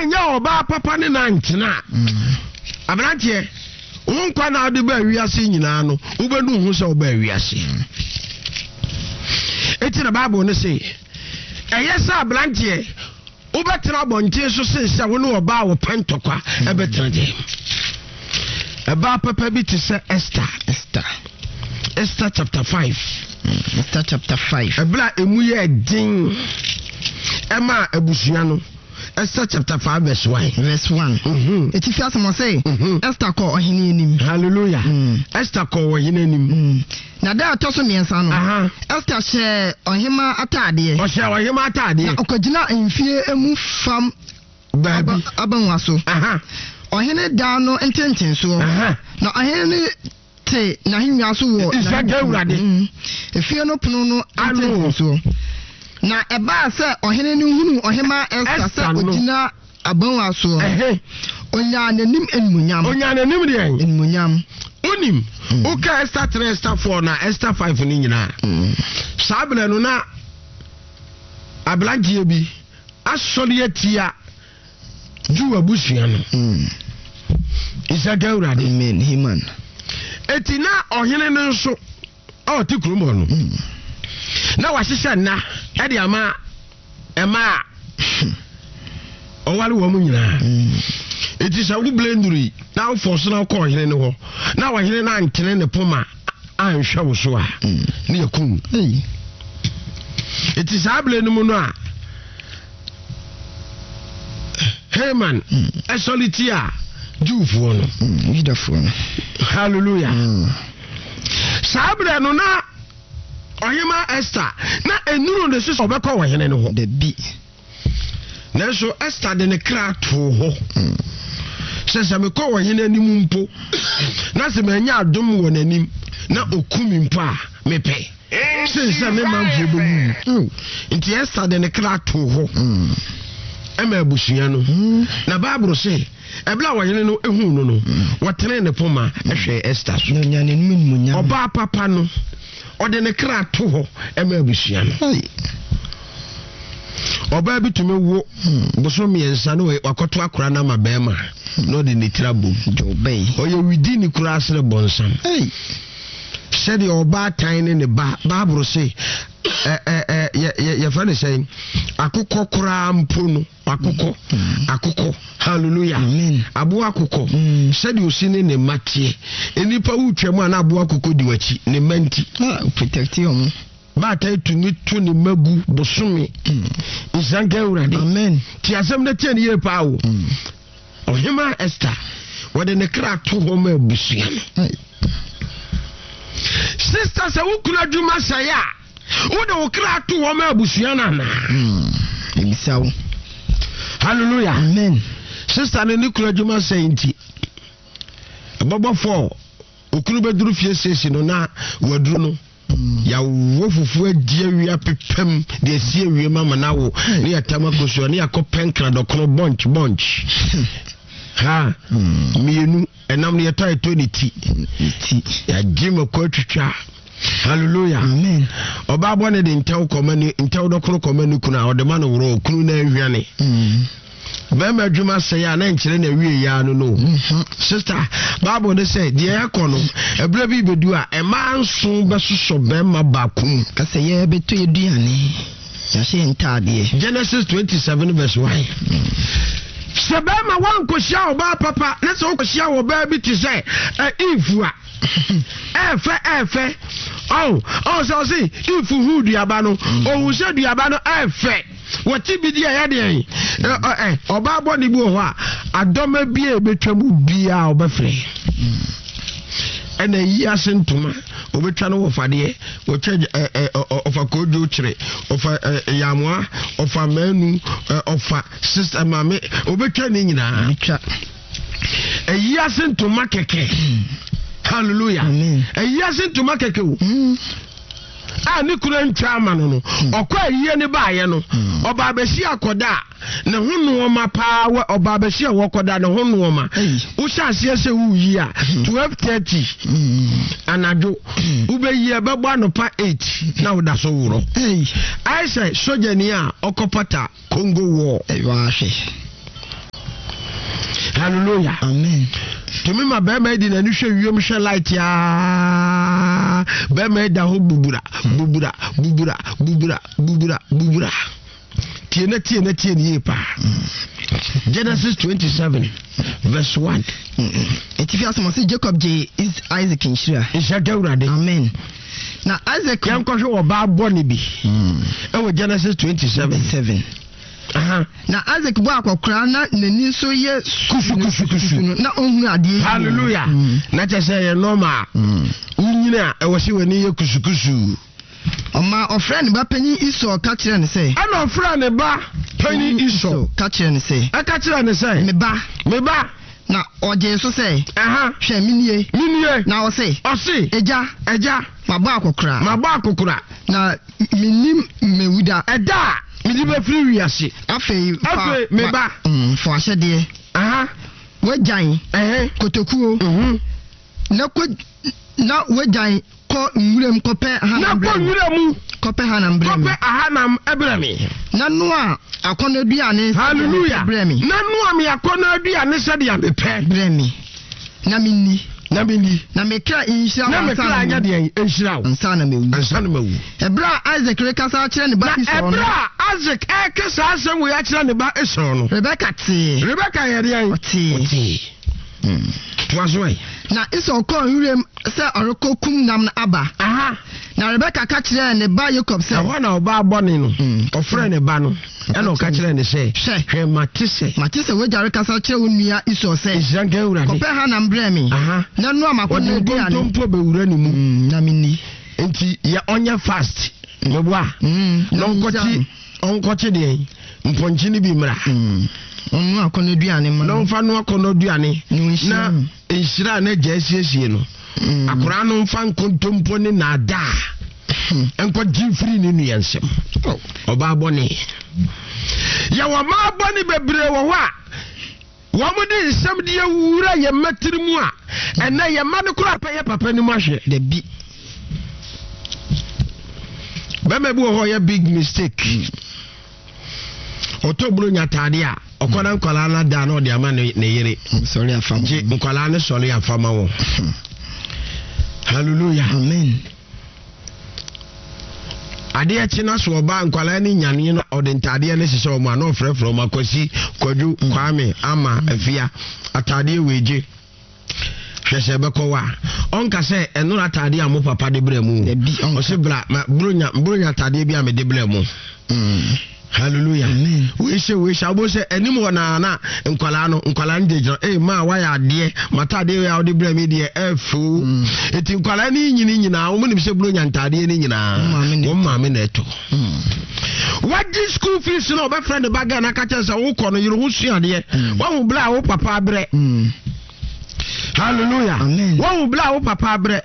Woanyɛ ɔbaa papa ne no antena a, aberanteɛ, wo nkwa na wode baa wiase nyinaa no, wobɛnu ho sɛ wobaa wiase. Enti na Bible no se, ɛyɛ sɛ aberanteɛ wobɛtena abɔnten so sen sɛ wo ne ɔbaa a wɔpɛ ntɔkwa ɛbɛtena dɛm. Ɛbaa papa bi te sɛ Esther. Esther. Esther chapter 5. Esther chapter 5. Ɛberɛ a emu yɛ den ɛma abusua no. Esther chapter 5 verse 1. Verse 1. Etifi asɛm ɔse, Esther kɔɔ ɔhene anim. Hallelujah. Esther kɔɔ ɔhene anim. Na da a ɛtɔ so mmiɛnsa no, Ester hyɛɛ ɔhemmaa ataadeɛ. Ɔhyɛɛ ɔhemmaa ataadeɛ. Na ɔkɔgyinaa ahemfie mu fam baabi abangua so. Ɔhene dan no ntentensoɔ. Na ɔhene no te n'ahennwa so wɔ n'ahemfie efie no pono no ntentensoɔ. Na ɛbaa sɛ ɔhene no hunuu ɔhemmaa Ester sɛ ɔgyina Abangua soɔ. Ɔnyaa n'anim animuonyam. Ɔnyaa n'anim deɛn? Animuonyam. Wonim, woka Esther 3, Esther 4 na Esther 5 no nyinaa. Saa berɛ no na aberanteɛ bi asɔre atia Jew abusua no. Isaka Awurade. Amen. Haman. Eti na ɔhene no nso a ɔte kurom hɔ no na wahyehyɛ nna de ama ɛma a ɔware wɔn nyinaa. Eti sɛ wo blenduri na wofɔ so na wokɔ ɔhene no hɔ na ɔhene no antene ne poma anhwɛ wo so a, ne yɛ kum. Eti saa bere no mu no a Haman ɛsɔre tia Jewfoɔ no. Yudafoɔ no. Hallelujah. Saa berɛ no na ɔhema Esther na ɛnuru ne so sɛ ɔbɛkɔ ɔhene no hɔ. Dabi. Nanso Esther de ne kra too hɔ sɛ sɛ mekɔ ɔhene anim mpo na sɛ manya adom wɔ n'anim na ɔku me mpo a mepɛ sen sɛ me manfoɔ bɛwu. Nti Esther de ne kra too hɔ ɛma abusua no. Na Bible se Ɛberɛ a ɔhene no huu no no, wɔtenee ne poma hwɛɛ Ester so. Ɔbaa papa no, ɔde ne kra to hɔ ma abusua no. Ɔbaa bi tumi wo bosom mmiɛnsa na wakɔto akora no ama bɛrima na ɔde ne tiri abom. Ɔyɛ widini koraa sene bɔnsam. Sɛdeɛ ɔbaatan ne ne ba, Bible se, yɛfrɛ no sɛn, akokɔ koraa mpo no, Akokɔ, akokɔ, hallelujah. Amen. Aboa akokɔ, sɛdeɛ osi ne ne mma teɛ. Nnipa wotwa mu a na aboa akokɔ di w'akyi, ne mma nti. Ah, protect wɔn. Baatan tumi to ne mma gu bosome. Nhyira nka Awurade. Amen. Ti asɛm no tie ne yie paa o. Ɔhema Esther, wɔde ne kra to hɔ ma abusua no. Sister, sɛ wo kunu adwuma sɛe a, Wode wo kra to hɔ ma abusua no anaa? Ebisa wo. Hallelujah. Amen. Sista no ne kunu adwuma sɛe nti, ɛbɛbɔ fɔɔ. Okunu bɛduru fie siesie no na waduru no. Yɛawo fufuo adi awia pepam de asi awie ma ma no awo ne yɛtam akosua ne yɛakɔ pɛnkra dɔkono bɔnch bɔnch. Ha mmienu ɛnam no yɛtɔ ɛtɔ ne ti. Yɛagye mako atwitwa. Hallelujah. Amen. Ɔbaa bɔ ne de ntɛw kɔma ne ntɛw dɔkono kɔma ne kunu a ɔde ma no worɔ okunu na ahwiane. Bɛrima adwuma sɛe a na nkyerɛ na awie ya no no. Sister, Bible ne sɛ deɛ ɛkɔ no ɛberɛ bi bɛdu a ɛmaa nso bɛsosɔ bɛrima baako mu. Kasɛ yɛbɛtɔ aduane, yɛahyɛ yɛn ntaadeɛ. Genesis 27 verse 1. Sɛ bɛrima wankɔhyia ɔbaa papa na sɛ wokɔhyia ɔbaa bi te sɛ Eve a ɛɛfɛ ɛɛfɛ ɔn ɔn sɛ ɔse if hu duaba no ohun sɛ duaba no ɛɛfɛ wɔte bi di ɛyɛ deɛn ɛ ɔbaa bɔ ne bi wɔ hɔ a adɔma bi a ebetwa mu biara ɔbɛfrɛ ɛna yi ase ntoma obetwa no wɔfadeɛ wɔtwa ɛ ɛ ɔfa koodwo kyerɛ ɔfa ɛ yamoa ɔfa mɛnu ɛ ɔfa sista maame obetwa ne nyinaa. Ɛyi ase ntoma kɛkɛ. Hallelujah. Ɛyi ase ntoma kɛkɛ o. A ne kura ntwa ama no no. Ɔkɔ ayie ne baayɛ no. Ɔbaa bɛsi akɔda a ne ho nnoɔma paa wɔ ɔbaa bɛsi a wɔkɔda ne ho nnoɔma. Wohyɛ aseɛ sɛ woyi a 12:30 anadwo wobɛyi ɛbɛbɔ anɔpa 8 na woda so worɔ. Ayɛ sɛ sogyani a ɔkɔpata Congo war. Ɛyɛ ahwɛ. Hallelujah. Amen. Tumi ma bɛrima yi di n'ani hwɛ wiem hwɛ light aa. Bɛrima yi da hɔ bubura bubura bubura bubura bubura bubura. Tie na tie na tie ne yie paa. Genesis 27 verse 1. Etifi asɛm ɔsɛ Jacob gye Isaac nhyira. Nhyira ka Awurade. Amen. Na Isaac. Yɛnkɔhwɛ ɔbaa bɔne bi. Ɛwɔ Genesis 27. 7. Na Isaac bɔ akɔkoraa na n'ani nso yɛ kusukusukusu no na ɔnhunu adeɛ yie. Hallelujah. Na kyɛ sɛ ɛyɛ normal. Wonyini a ɛwɔ sɛ w'ani yɛ kusukusu. Ɔmaa ɔfrɛɛ ne ba panyin Esau ka kyerɛɛ no sɛ. Ɛnna ɔfrɛɛ ne ba panyin Esau. Ka kyerɛɛ no sɛ. Ɛka kyerɛɛ no sɛ. Me ba. Me ba. Na ɔgyee so sɛ. Aha. Hwɛ, menie. Menie. Na ɔse. Ɔse. Agya. Agya. Mabɔ akɔkora. Mabɔ akɔkora. Na mennim mewu da. Ɛda a mede bɛfiri wiase. Afei fa. Afei, me ba. Fa w'ahyɛdeɛ. Aha. W'agyan. Ɛhɛ. Kotokuo. Mhm. Na kɔ na w'agyan kɔ nwuram kɔpɛ ahanam brɛ me. Na kɔ nwura mu. Kɔpɛ hanam brɛ me. Kɔpɛ ahanam brɛ me. Na noa akɔnnɔ aduane sɛdeɛ mepɛ brɛ me. Na noa me akɔnnɔ aduane sɛdeɛ mepɛ. Brɛ me, na menni. Na menni. Na me kra nhyira wo Na me kra nyɛ deɛn? Nhyira wo. Ansa na mawu. Ansa na mawu. Ɛberɛ a Isak rekasa akyerɛ ne ba Esau no. Na ɛberɛ a Isak reka saa asɛm wei akyerɛ ne ba Esau no. Rebeka tee. Rebeka yɛ deɛn? Ɔtee. Ɔtee. Toa so ɛ. Na Esau kɔɔ nwuram sɛ ɔrekɔkum nam no aba. Aha. Na Rebeka ka kyerɛɛ ne ba Yakob sɛ. Ɛhɔ na ɔbaa bɔne no, ɔfrɛɛ ne ba no, ɛna ɔka kyerɛɛ no sɛ, Hwɛ! Hwɛ, mate sɛ. Mate sɛ w'agya rekasa kyerɛ wo nua Esau sɛ. Nhyira nka Awurade. Kɔpɛ hanam brɛ me. Aha. Na noa m'akɔnnɔ Ɔde aduane. nkontompo bɛwura ne mu. Na menni. Enti yɛ ɔnyɛ fast. Meboa. Na Na ɔnkɔkye. Ɔnkɔkye deɛn? Mpɔnkye no bi mmra. Ɔnnoa akɔnnɔ aduane mma no. Na ɔmfa nnoa akɔnnɔ aduane. Na nhyira a n'agya asiesie no. Akoraa no mfa nkontompo ne naadaa nkɔgye mfiri ne nua nsam. Oh. Ɔbaa bɔne. Yɛwɔ mmaa bɔne bebree wɔ hɔ a wɔde nsɛm de awura yɛn mma tiri mu a ɛnɛ yɛn mma no koraa pɛ yɛ papa no mu ahwɛ. Dabi. Bɛrima bi wɔ hɔ ɔyɛ big mistake. Ɔtɔ buro nya ataade a ɔkɔ na nkwadaa no ada na ɔde ama ne yere. Sɔre afa ma. Gye nkwadaa no sɔre afa ma wɔn. Hallelujah. Amen. Adeɛ kye na so ɔbaa nkwadaa no nyaneɛ no ɔde ntaadeɛ no hyehyɛ wɔn a na ɔfrɛfrɛ wɔn akwasi kwadwo mm. kwame ama mm. afia ataadeɛ wei gye hwɛ sɛ ɛbɛkɔ wa ɔnka sɛ ɛno ataadeɛ a mo papa de brɛ mu ɔse bra bronya bronya ataadeɛ bi a mede brɛ mu mm. Hallelujah. Amen. Wei hyɛ wei hyɛ abo sɛ anim hɔ naa na nkwadaa no nkwadaa no gyinagyina ee maa wayɛ adeɛ mataadeɛ wei a wɔde brɛ mi deɛ ɛɛfo mm. eti nkwadaa no nyini nyinaa wɔn nim sɛ buronya ntaadeɛ no nyinaa wɔn maame na ɛtɔ. Mm. Wagye school fees na ɔbɛfrɛ ne ba Ghana kakyɛ sɛ wokɔ no yere ho sua adeɛ mm. wahu bla a wo papa abrɛ. Hallelujah. Amen. Wahu bla a wo papa abrɛ.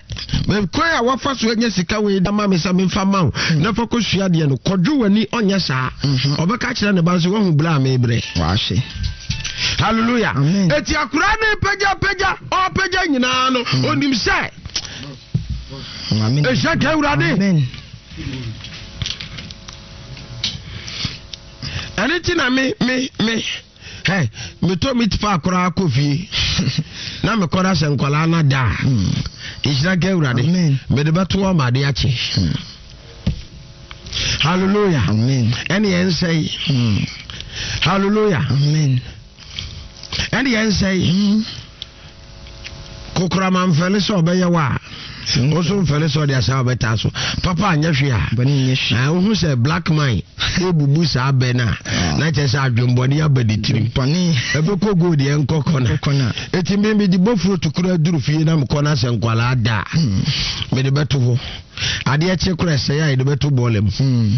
Kwan a wafa so anya sika wei da ma me sɛ memfa ma wo hmm. na fa kɔsua deɛ no kɔdwo w'ani ɔnyɛ saa mhm. ɔbɛka kyerɛ ne ba nso wahu bla a mebrɛ. Wahye. Hallelujah. Amen. Eti akora ne pagya pagya ɔpagya nyinaa no hmm. onim sɛ ɛhyɛ ka awurade. Amen. Ɛne ti na me me me Hey, metɔ meat pie koraa kɔ fie na mekɔda sɛ nkwadaa no da a hmm. nhyira nka awurade mede bɛto hɔ ma ade akye hmm. hallelujah ɛne yɛn nsɛe hmm. hallelujah ɛne yɛn nsɛe Kokorama mfɛle sɛ ɔbɛyɛ wo a, wo nso mfɛle sɛ ɔde asaa ɔbɛtaa so. Papa anyɛ hwee a, wohu sɛ black man ebubu saa bɛ no a, ah. na kyerɛ sɛ adwembɔne aba ne tirim. Ɛbɛkɔ gold yɛ nkɔ kɔna. Eti me mede bɔfuro to kura duru fie na mekɔ na sɛ nkwalaa da a, hmm. mede bɛto hɔ. Adeɛ kye kora ɛsɛe a yɛde bɛto bɔɔla mu. Hmm.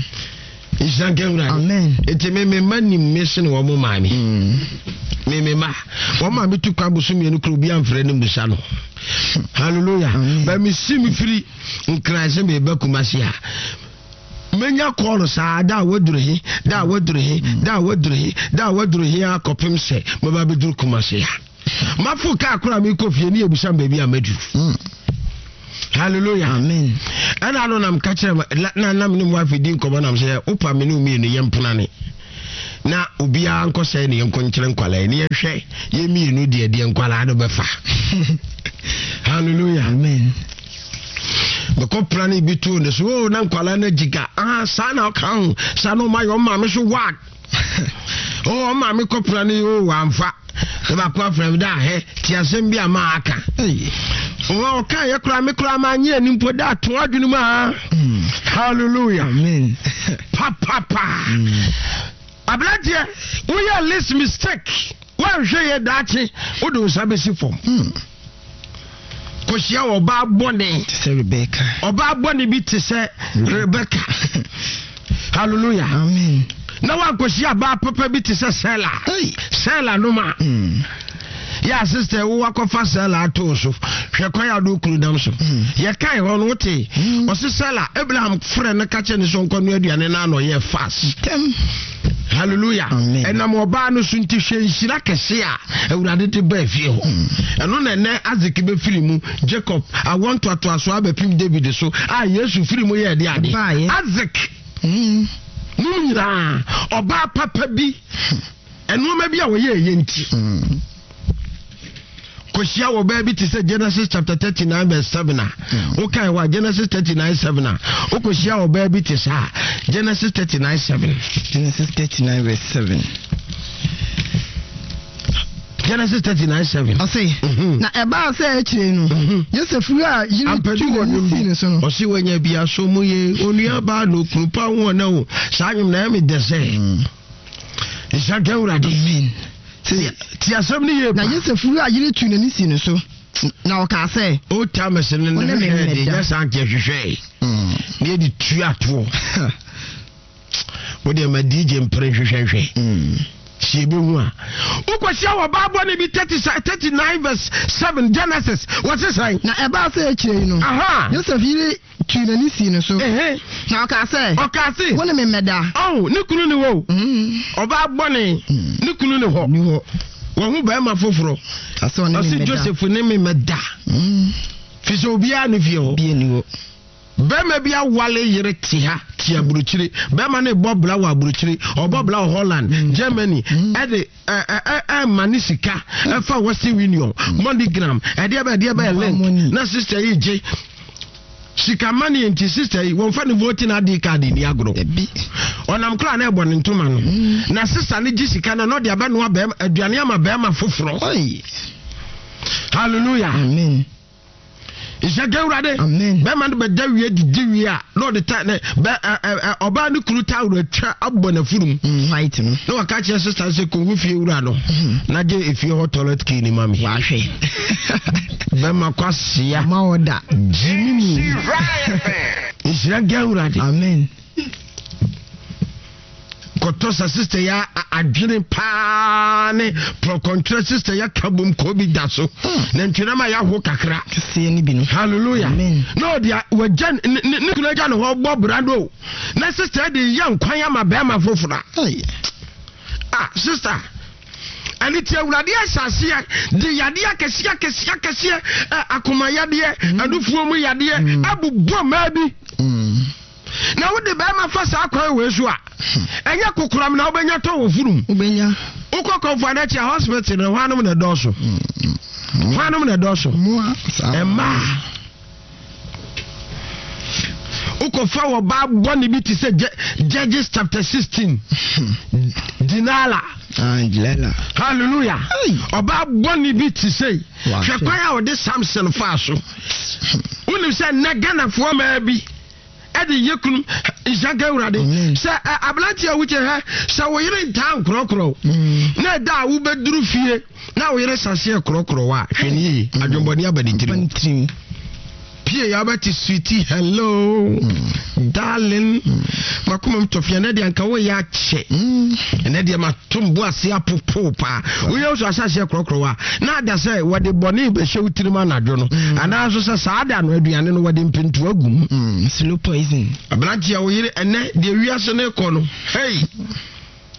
Nhyira nka Awurade. Amen. Eti me me mma nim me sene wɔn maame. Mm. Me me mma. Wɔn maame tu kwan boso mmienu koro obi amfrɛ ne mmusa no. Hallelujah. Ba me si me firi nkran sɛ me ba Kumasi a. Menya kɔɔlo saa da a waduru he, da a waduru he, da a waduru he, da a waduru he akɔpem sɛ mɛba bɛduru Kumasi a. Mafo kaa koraa mekɔ fie ne yɛbisa me baabi a madu. Mm. Hallelujah. Amen. Ɛna ano nam ka kyerɛ na nam ne mu wife di nkɔmmɔ nam sɛ wopa me ne mmienu yɛ mpenane. Na obiara nkɔsɛe ne yɛnkɔ nkyerɛ nkwadaa yi ne yɛnhwɛ yɛn mmienu deɛ deɛ nkwadaa no bɛfa. Hallelujah. Amen. Mekɔ pra ne bi too ne so o oh, na nkwadaa no agyiga ah saa na ɔka ho saa na ɔma yɛ ɔmaame so wag o oh, ɔmaame kɔ pra ne o oh, wamfa ne baako afrɛ me da ahɛ te asɛm bi a ma aka ɔka yɛ koraa me koraa ma nye ani mpo da ato adwene mu a hmm. hallelujah amen papapa hmm. aberanteɛ woyɛ list mistake woanhwɛ yɛ daakye wode wo nsa bɛsi fam hmm. kɔhyia ɔbaa bɔne te sɛ Rebecca. Ɔbaa bɔne bi te sɛ Rebecca. Hallelujah. Amen. Na wankɔhyia ɔbaa papa bi te sɛ Sela. Sela no ma. Mm. Yɛ sister wo wakɔfa Sela ato so. Hwɛ kwan a wode kunu nam so. Mm. Yɛkae hɔ no wote. Mm. Ɔse Sela Abraham frɛ no ka kyerɛ ne sɛ ɔnkɔnoa aduane no ano ɔyɛ fast. Tɛm. Hallelujah. Ɛnam ɔbaa no so nti hwɛ nhyira kɛse a Awurade de baa fie hɔ. Hmm. Ɛno na ɛnɛ Isaac bɛfiri mu, Jacob, awoɔ ntoatoasoɔ abɛpem David so a Yesu firi mu yɛɛ de ade. Isaac hmm. nom nyinaa ɔbaa papa bi nneɛma bi a wɔyɛ ɛyɛ nti. Hmm. Kɔhyia wɔ baa bi te sɛ Genesis chapter 39 verse 7 a hmm. wokae hɔ a Genesis 39 7 a wokɔhyia wɔ baa bi te saa Genesis 39 7 Genesis 39 verse 7 Genesis 39 7 ɔse mhm. na ɛbaa sɛ akyire no mhm. Yosef wura yere tu n'ani sii ne so no ɔse wanya bi aso mu ye onua baa no kunu pa ho ɔna o saa nwom na ɛme dɛ sɛ mm. Nhyira nka Awurade. Amen. Ti asɛm no yie pa. Na Yosef wura yere tuu n'ani sii ne so, na ɔkaa sɛ. Old timers no ne hwehwɛ de nyɛ saa nka hwehwɛ. Mm. Ne yɛde tua toɔ. Wo deɛ ma DJ mpere nhwehwɛhwɛ. Mm. Si ebehu a. Wokɔhyia wɔ baa bɔne bi 39 verse 7 Genesis wɔse sɛn? Na ɛbaa sɛ akyire yi no. Aha. Yosef yere tuu n'ani sii ne so, na ɔkaa sɛ, Ɔkaa se, Wo ne me mmɛda. Ɔho, ne kunu ne hɔ o. Mm. Ɔbaa bɔne, mm. ne kunu ne hɔ. Ne hɔ. Wɔho barima foforɔ. Ɔse ɔne me mmɛda. Ɔse Joseph ne me mmɛda. Mm. Fi sɛ obiara ne fie hɔ. Bie ne hɔ. Bɛrima bi awale yere te ha te aburokyire. Bɛrima no bɔ bla wɔ aburokyire. Ɔbɔ bla wɔ Holland, mm. Germany. Mm. Ɛde ɛma ne sika ɛfa Western Union, MoneyGram, ɛdeɛ bɛ ɛdeɛ bɛ link. Na sister yi gye sika money nti sister yi wɔnfa ne voting ID card ni agorɔ. Ɔnam koraa na ɛbɔ ne ntoma no. Mm. Na sister no gye sika no na ɔde abɛnoa bɛrima aduane ama bɛrima foforɔ. Hallelujah. Amen. Nhyɛ nka Awurade. Amen. Bɛrima no bɛda wie didi wie a na ɔde ta ne bɛ ɛ ɛ ɔbaa ne kunu tawuro atwa abɔ n'afurum. Mm, white no. Na waka kyerɛ sista sɛ kɔhu fie wura no mm. na gye efie hɔ toilet key ni ma mi. Wahwɛ. Bɛrima kwasia. Ma ɔda. Gyimi mu. Nhyira nka Awurade. Amen. Kɔtɔ sa sister ya adwene paa ne prɔkɔntwerɛ sister ya ka bom kɔ bi da so hmm. na ntwerɛ ma yɛaho kakra kɛseɛ no bi no hallelujah Amen. na ɔde wagya ne ne kunu agya ne hɔ bɔ bra no na sister de yɛ nkwan ama bɛrima foforɔ ah sister ɛne ti awurade ahyɛ aseɛ de yadeɛ akɛseɛ akɛseɛ akɛseɛ akoma yadeɛ mm. anufuo mu yadeɛ mm. abobɔ mmaa bi mm. Na wode bɛrima fa saa kwan wei so a, ɛnyɛ kokoram na wobɛnya tɔ wɔ furum. Wobɛnya. Wokɔ kɔmfo anakyi a hospital no hwanom na ɛdɔɔso. Hwanom na ɛdɔɔso. Mmaa. Wokɔfa wɔ baa bɔne bi te sɛ Judges chapter 16. Dinala. Ah, Dinala. Hallelujah. Ɔbaa bɔne bi te sɛ hwɛ kwan a ɔde Samson faa so. Wonim sɛ nnɛ Ghanafoɔ maa bi ɛde yɛ kunu nhyira nka awurade sɛ aberante a wokyɛ hɛ sɛ wo yere ntaa nkorɔkorɔ mm. na ɛda a wobɛduru fie na wo yere saseɛ korɔkorɔ a hwɛ ne yie mm. adwembɔne aba ne tirim pie ya wobɛte sweetie hello mm. darling makoma m tɔfea ɛnɛ deɛ anka woyɛ akyɛ ɛnɛ deɛ matom bo ase apopo paa woyɛ wo so ahyɛaseɛ korɔkorɔ a na ada sɛ wɔde bɔne bɛhyɛ wo tirim anadwo no mm. anaa nso sɛ saa da no aduane no wɔde mpentoa gu mu mm, slow poison aberanteɛ wo yere ɛnɛ deɛ wiase no kɔ no hei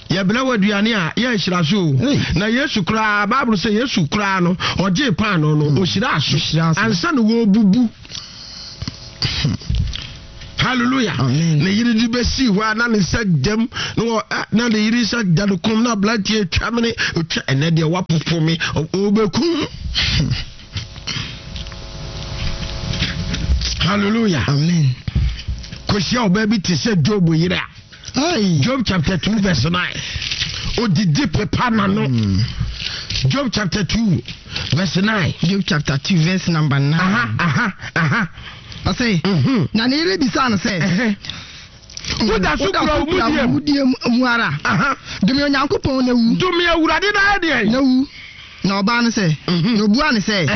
yɛbrɛ wɔ aduane a yɛ nhyira so o na yesu koraa bible sɛ yesu koraa no ɔgyee paano no mm. ɔhyiraa so ansa na wɔbubu. Hallelujah. Amen. Ne yere de bɛsii hɔ a na ne nsa dam na wɔ na ne yere nsa da no kɔn na aberanteɛ atwa mene otwa ɛnɛ deɛ wapopo me ɔbɛkum. Hallelujah. Amen. Kɔhyia ɔbaa bi te sɛ Job yere a. Job chapter 2 verse 9. Odidi pepa n'ano. Hmm. Job chapter 2 verse 9. Job chapter 2 verse number 9. Aha, aha, aha. Ɔse, mhm. na ne yere bisaa no sɛ, woda so kura wo mudie mu ara? Dome Onyankopɔn na wu. Dome Awurade na ayɛ deɛ? Na wu. Na ɔbaa no sɛ, mhm. na obua no sɛ,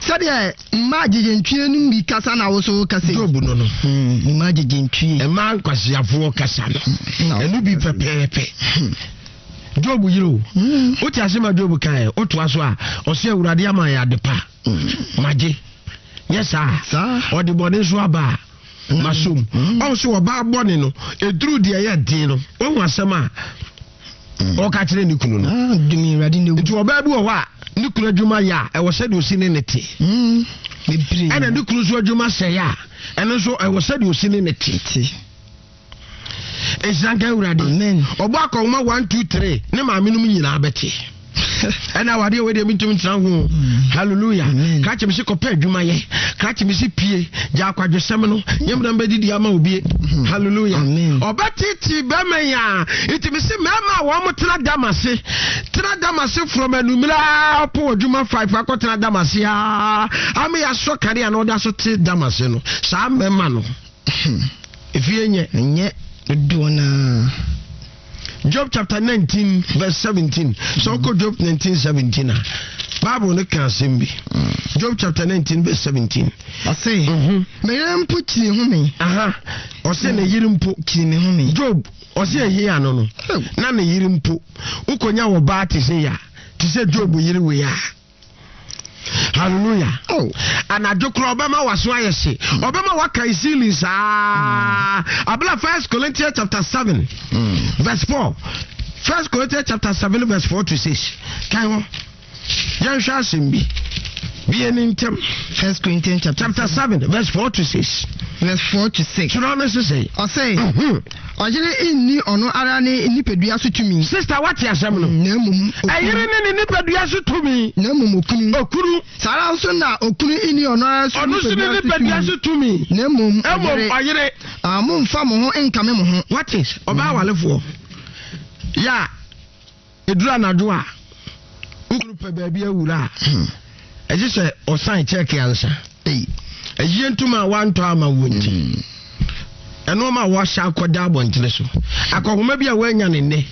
sɛdeɛ mmaa agyegyentwie no bi kasa na wo so wokasa yi. Job no no. Hmm, mmaa agyegyentwie. Mmaa nkwasiafoɔ kasa no. Hmm, ɛno bi pɛpɛɛpɛ. Hmm. Job yere o. Wote ase ma Job kae, wotoa so a, ɔsɛ Awurade ama yɛ ade pa. Magye. Nyɛ saa. Ɔde bɔne nso aba a, masom. Ɔho sɛ ɔbaa bɔne no, ɛduru deɛ ɛyɛ den no, wahu asɛm a ɔka kyerɛ ne kunu no. Ah, Nti ɔbaa bi wɔ hɔ a ne kunu adwuma yɛ a ɛwɔ sɛdeɛ ɔsi ne ne te. Hmm, Ɛna ne kunu nso adwuma sɛe a ɛno nso ɛwɔ sɛdeɛ ɔsi ne ne te. Nhyira nka Awurade. Ɔbɔ akɔnhoma 1 2 3 ne maame nom nyinaa bɛte. Ɛna awadeɛ wei deɛ mentumi ntena ho. Mm. Hallelujah. Krakye me se kɔpɛ adwuma yɛ. Krakye me se pie. Gya akwadwosɛm no. Nyɛ mena mbɛdidi ama obie. Mm. Hallelujah. Ɔbɛtete bɛma yi a. Nti me se mmarima a wɔn tena dam ase. Tena dam ase from anumere a ɔpɔ adwuma 5 akɔtena dam ase a. Ama yɛasɔ kanea na ɔda so te dam ase no. Saa mmarima no. Efie nyɛ. Ɛnyɛ dodoɔ no ara. Job chapter 19 verse 17. Sɛ wokɔ Job 19 17 a, Bible no ka asɛm bi. Job chapter 19 verse 17. Ɔse, mhm. me yere mpo kyiri ho me. Aha, ɔse ne yere mpo kyiri me ho me. Job, ɔse ɛhe ano no, na ne yere mpo. Wokɔnya wɔ baa te sɛ ya, te sɛ Job yere wei a. Hallelujah. Oh. Anadwo koraa ɔbɛma waso ayɛ hye. Ɔbɛma waka ceiling saa. Abla First Corinthians chapter 7 mm. verse 4. First Corinthians chapter 7 verse 4 to 6. Kan hɔ. Yɛnhwɛ asɛm bi. Bie ne ntɛm. First Corinthians chapter, chapter 7 verse 4 to 6. Verse 4 to 6. Twerɛ no sesɛ. Ɔsɛ. Mhm. Ɔyere nni ɔno ara ne nipadua so tumi. Sista wate asɛm no. Na mmom okunu. Ɛyere ne ne nipadua so tumi. Na mmom okunu. Okunu. Saa ara nso na okunu nni ɔno ara so Ɔno nso ne nipadua so tumi. Na mmom ɔyere. Mmom ɔyere. Ah, mommfa mo ho nkame mo ho. Wate, ɔbaa walefoɔ. Yɛ a. Ɛduru anadwo a, wo kunu pɛ baabi awura a, ɛgye sɛ ɔsan kyɛɛke ansa. Ayie ntoma a wantɔ ama wo nti, hmm. ɛnoɔma a wɔahyɛ akɔda abɔntene so, akɔhoma bi a woanya ne nnɛ.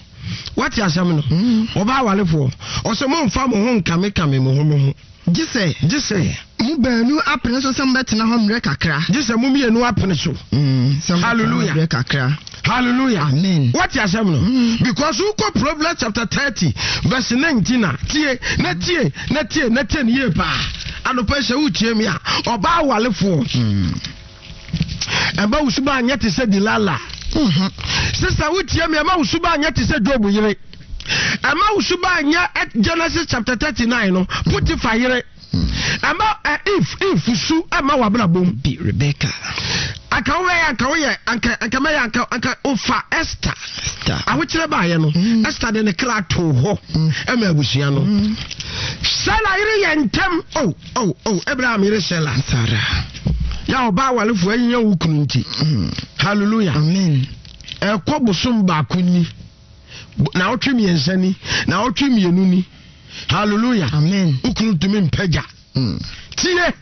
Wate asɛm no? Hmm. Ɔbaa awalefoɔ, ɔsɛ momfa mo ho nkamekame mo ho mo ho. Gye sɛ. Gye sɛ. Mo baanu apene so sɛ mobɛtena hɔ mmerɛ kakra. Gye sɛ mo mmienu apene so. Mm, sɛ mobɛtena hɔ Hallelujah. mmerɛ kakra. Hallelujah. Amen. What asɛm no? Mm. Because wokɔ Proverbs chapter 30 verse 19 a, tie, na tie, na tie, na tie ne yie paa. Anɔpa yi sɛ wotie me a, ɔbaa walefoɔ. Mm. Ɛma wo suba anyɛ te sɛ Delilah. Mm-hmm. Sister wotie me, ɛma wo suba anyɛ te sɛ Job yere. Ɛma wo suba anyɛ eh, Genesis chapter 39 no, Potiphar yere. Ɛma eh, if if su ɛma w'abrabɔ mu. Bi Rebecca. Anka woyɛ anka woyɛ anka anka mɛyɛ anka anka ofa Esther. Esther. Ahokyerɛ baayɛ no, mm. Esther de ne kra too hɔ mm. ɛma abusua no. Mm. Sela yere yɛ ntɛm. Oh. Oh, oh, Abraham yere Sela. Sarah. Ya ɔbaa awalefo ahinya wo kunu nti. Mm. Hallelujah. Amen. Ɛkɔ bosom baako ni. Na ɔtwe mmiɛnsa ni. Na ɔtwe mmienu ni. Hallelujah. Amen. Wo kunu ntumi mpagya. Mm. Tie.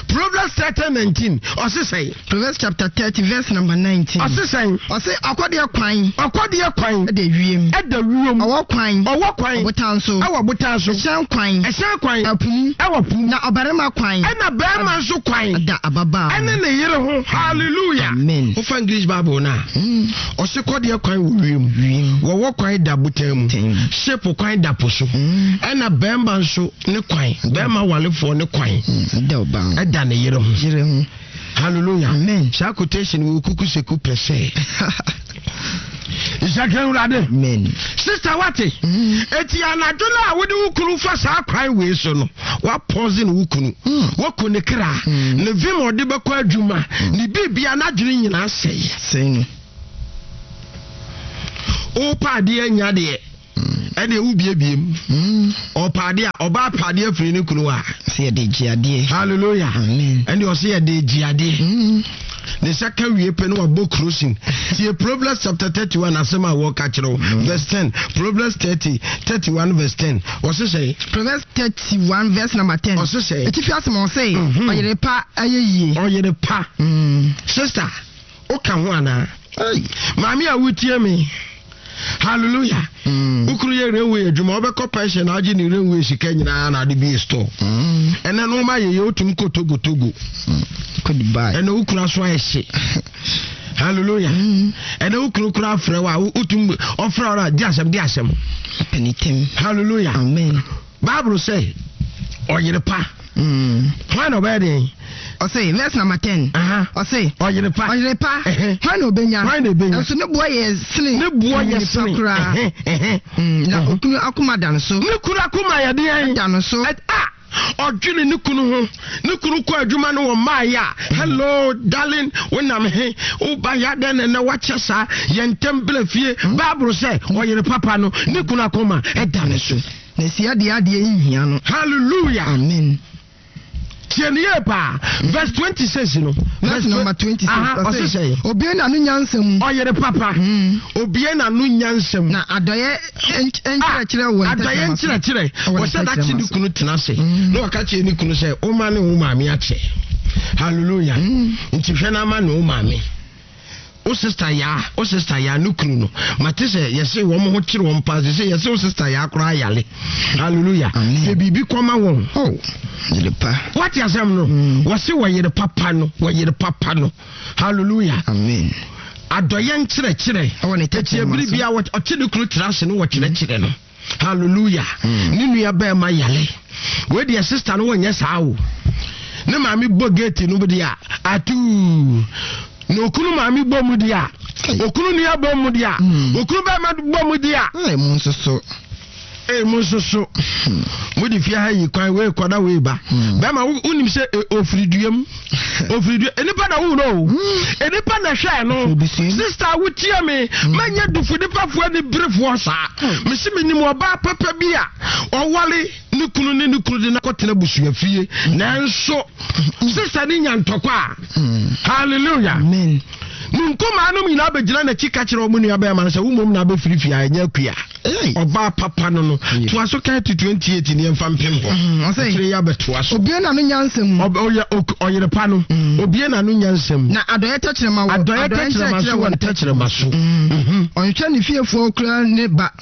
Proverbs 30 19. Ɔse sɛn? Proverbs chapter 30 verse number 19. Ɔse sɛn? Ɔse ɔkɔdeɛ kwan. Ɔkɔdeɛ kwan. Ɛda wiem. Ɛda wiem. Ɔwɔ kwan. Ɔwɔ kwan. Ɔbotan so. Ɛwɔ botan so. Ɛhyɛn kwan. Ɛhyɛn kwan. Ɛpo mu. Ɛwɔ po mu. Na ɔbarima kwan. Ɛna barima nso kwan. Ɛda ababaa ho. Ɛne ne yere ho. Hallelujah. Amen. Wofa English Bible no a. Mm. Ɔse kɔdeɛ kwan wɔ wiem. Wiem. Wɔwɔ kwan da botan mu. Ten. Ship kwan da po so. Mm. Ɛna barima nso ne kwan. Barima walefoɔ ne kwan. Mm. Ɛda ɔbaa ho. Ɛda ne yere ho. Yere ho. Hallelujah. Amen. Saa quotation wɔ kuku seku pɛ sɛ. Nhyɛ Awurade. Amen. Sister wate. Mm. Eti anadwo no a wode wo kunu fa saa kwan wei so no, wapɔse ne wo kunu. Mm. Waku ne kra. Mm. Ne vim a ɔde bɛkɔ adwuma. Ne biribia n'adwene nyinaa sɛe. Sɛe no. Wopɛ adeɛ anya deɛ. Ɛdeɛ wobiebie mu. Ɔpɛ adeɛ a ɔbaa pɛ adeɛ firi ne kunu a. Sɛ yɛde gye adeɛ. Hallelujah. Amen. Ɛnde ɔsɛ yɛde gye adeɛ. Ne nsa ka wie pɛ no wabɔ kurosin. Tie Proverbs chapter 31 asɛm a wɔka kyerɛ wo. Verse 10. Proverbs 30, 31 verse 10. Ɔse sɛ. Proverbs 31 verse number 10. Ɔse sɛ. Etifi asɛm ɔse. Ɔyere pa ayɛ yie. Ɔyere pa. Sister, woka ho anaa? Maame a wotie me. Hallelujah. Wo kunu yɛ railway adwuma, wobɛkɔ pension na agye ne railway sika nyinaa na ade bie store. Ɛnɛ no ma yɛyɛ wotumi kɔ Togo Togo. Kɔ Dubai. Ɛnɛ wo kunu aso ayɛ hye. Hallelujah. Ɛnɛ wo kunu kura afrɛ wo a wotumi ɔfrɛ wo a di asɛm di asɛm. Panitim. Hallelujah. Amen. Bible sɛ ɔyere pa. Hwan na ɔbɛyɛ deɛn? Ɔse verse number 10. Ɔse ɔyere pa. Ɔyere pa. Hwan na ɔbɛnya? Hwan na ɔbɛnya? Nso ne boɔ yɛ sene. Ne boɔ yɛ sene koraa. Na okunu akoma da no so. Ne kunu akoma yɛ deɛn? Da no so. A ɔdwene ne kunu ho. Ne kunu kɔ adwuma no wɔ mmaeɛ a. Hello darling, wonam he? Woba yɛ adɛn na ɛnɛ wakyɛ saa? Yɛ ntɛm bra fie. Bible sɛ ɔyere papa no ne kunu akoma ɛda ne so. Na sia deɛ adeɛ nhia no. Hallelujah. Amen. Tie ne yie paa. Verse 26 no. Verse number 26. Ɔse sɛ. Obie n'ano nyansa mu. Ɔyere papa. Obie n'ano nyansa mu. Na adɔyɛ nkyerɛkyerɛ wɔ ntɛkyerɛma so. Adɔyɛ nkyerɛkyerɛ. Wɔsɛ dakye ne kunu tena ase. Na ɔka kyerɛ ne kunu sɛ, Woma ne wo maame akyɛ. Hallelujah. Nti hwɛ na ama ne wo maame. Wo sister yaa, wo sister yaa ne kunu no. Mate sɛ yɛse wɔn ho kyere wɔn paa sese yɛse wo sister yaa koraa yale. Hallelujah. Sɛ biribi kɔma wɔn. Oh, yere pa. Wate asɛm no? Wɔse wɔyere papa no, wɔyere papa no. Hallelujah. Amen. Adɔyɛ nkyerɛkyerɛ. Ɛwɔ ne Ɛti tɛkyerɛma ebiri so. bia ɔkye ne kunu tena ase no wɔkyerɛkyerɛ no. Hallelujah. Ne nua bɛrima yale. Wei deɛ sister no wɔnyɛ saa o. Ne maame bɔ gate no deɛ a atuu. Na okunu maame bɔ mu deɛ a okunu nua bɔ mu deɛ a okunu bɛrima bɔ mu deɛ a. Ee mu nso so. Ee mu nso so. Mo de fie ha yi kwan wei kɔda wei ba. Bɛrima wonim sɛ ofiri dua mu. Ofiri dua nipa na wo no o. Nipa na hwɛ no. Sister wotie me. Mɛnyɛ dufu nipafoɔ ani berefoɔ saa. Mesi menim ɔbaa papa bi a ɔwale ne kunu ne ne kunu de no akɔtena busua fie. Nanso sister ne nya ntɔkwa a. Hallelujah. Amen. Ne nkumaa nom nyinaa bɛgyina n'akyi ka kyerɛ wɔn nua bɛrima no sɛ wo mmom na abɛfiri fie a ɛnyɛ akua. Ɔbaa papa no no. Toa so kan to 28 ne yɛmfa mpem hɔ. Ɔsɛ Akyire yi abɛtoa so. Obie n'ano nyansa mu. Ɔyɛ ɔyere pa no. Obie n'ano nyansa mu. Na adɔeɛ tɛkyerɛma wɔ adɔeɛ tɛkyerɛma so wɔ ne tɛkyerɛma so. Ɔnhwɛ ne fiefoɔ koraa ne ba.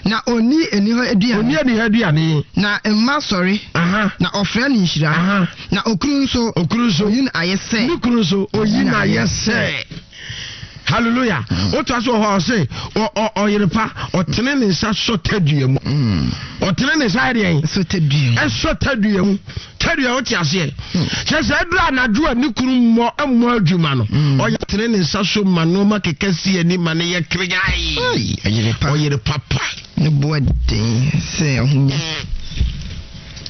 Na ɔnni aniha aduane. Ɔnni aniha aduane. Na mma sɔre. Na ɔfrɛ no nhyira. Na okunu nso. Okunu nso. Oyi no ayɛ sɛ. Ne kunu nso oyi no ayɛ sɛ. Hallelujah. Wotoa so wɔ hɔ a ɔse ɔyere pa ɔtene ne nsa sɔ tadua mu. Ɔtene ne nsa yɛ deɛn? Sɔ tadua mu. Ɛsɔ tadua mu. Tadua wote aseɛ. Kyerɛ sɛ ɛduru anadwo a ne kunu mmɔ mmɔ adwuma no. Ɔyɛ tene ne nsa so ma nneɛma keka si ani ma ne yɛ keregae. Ɔyere pa. Ɔyere papa. Ne boɔ den sɛ ahonya.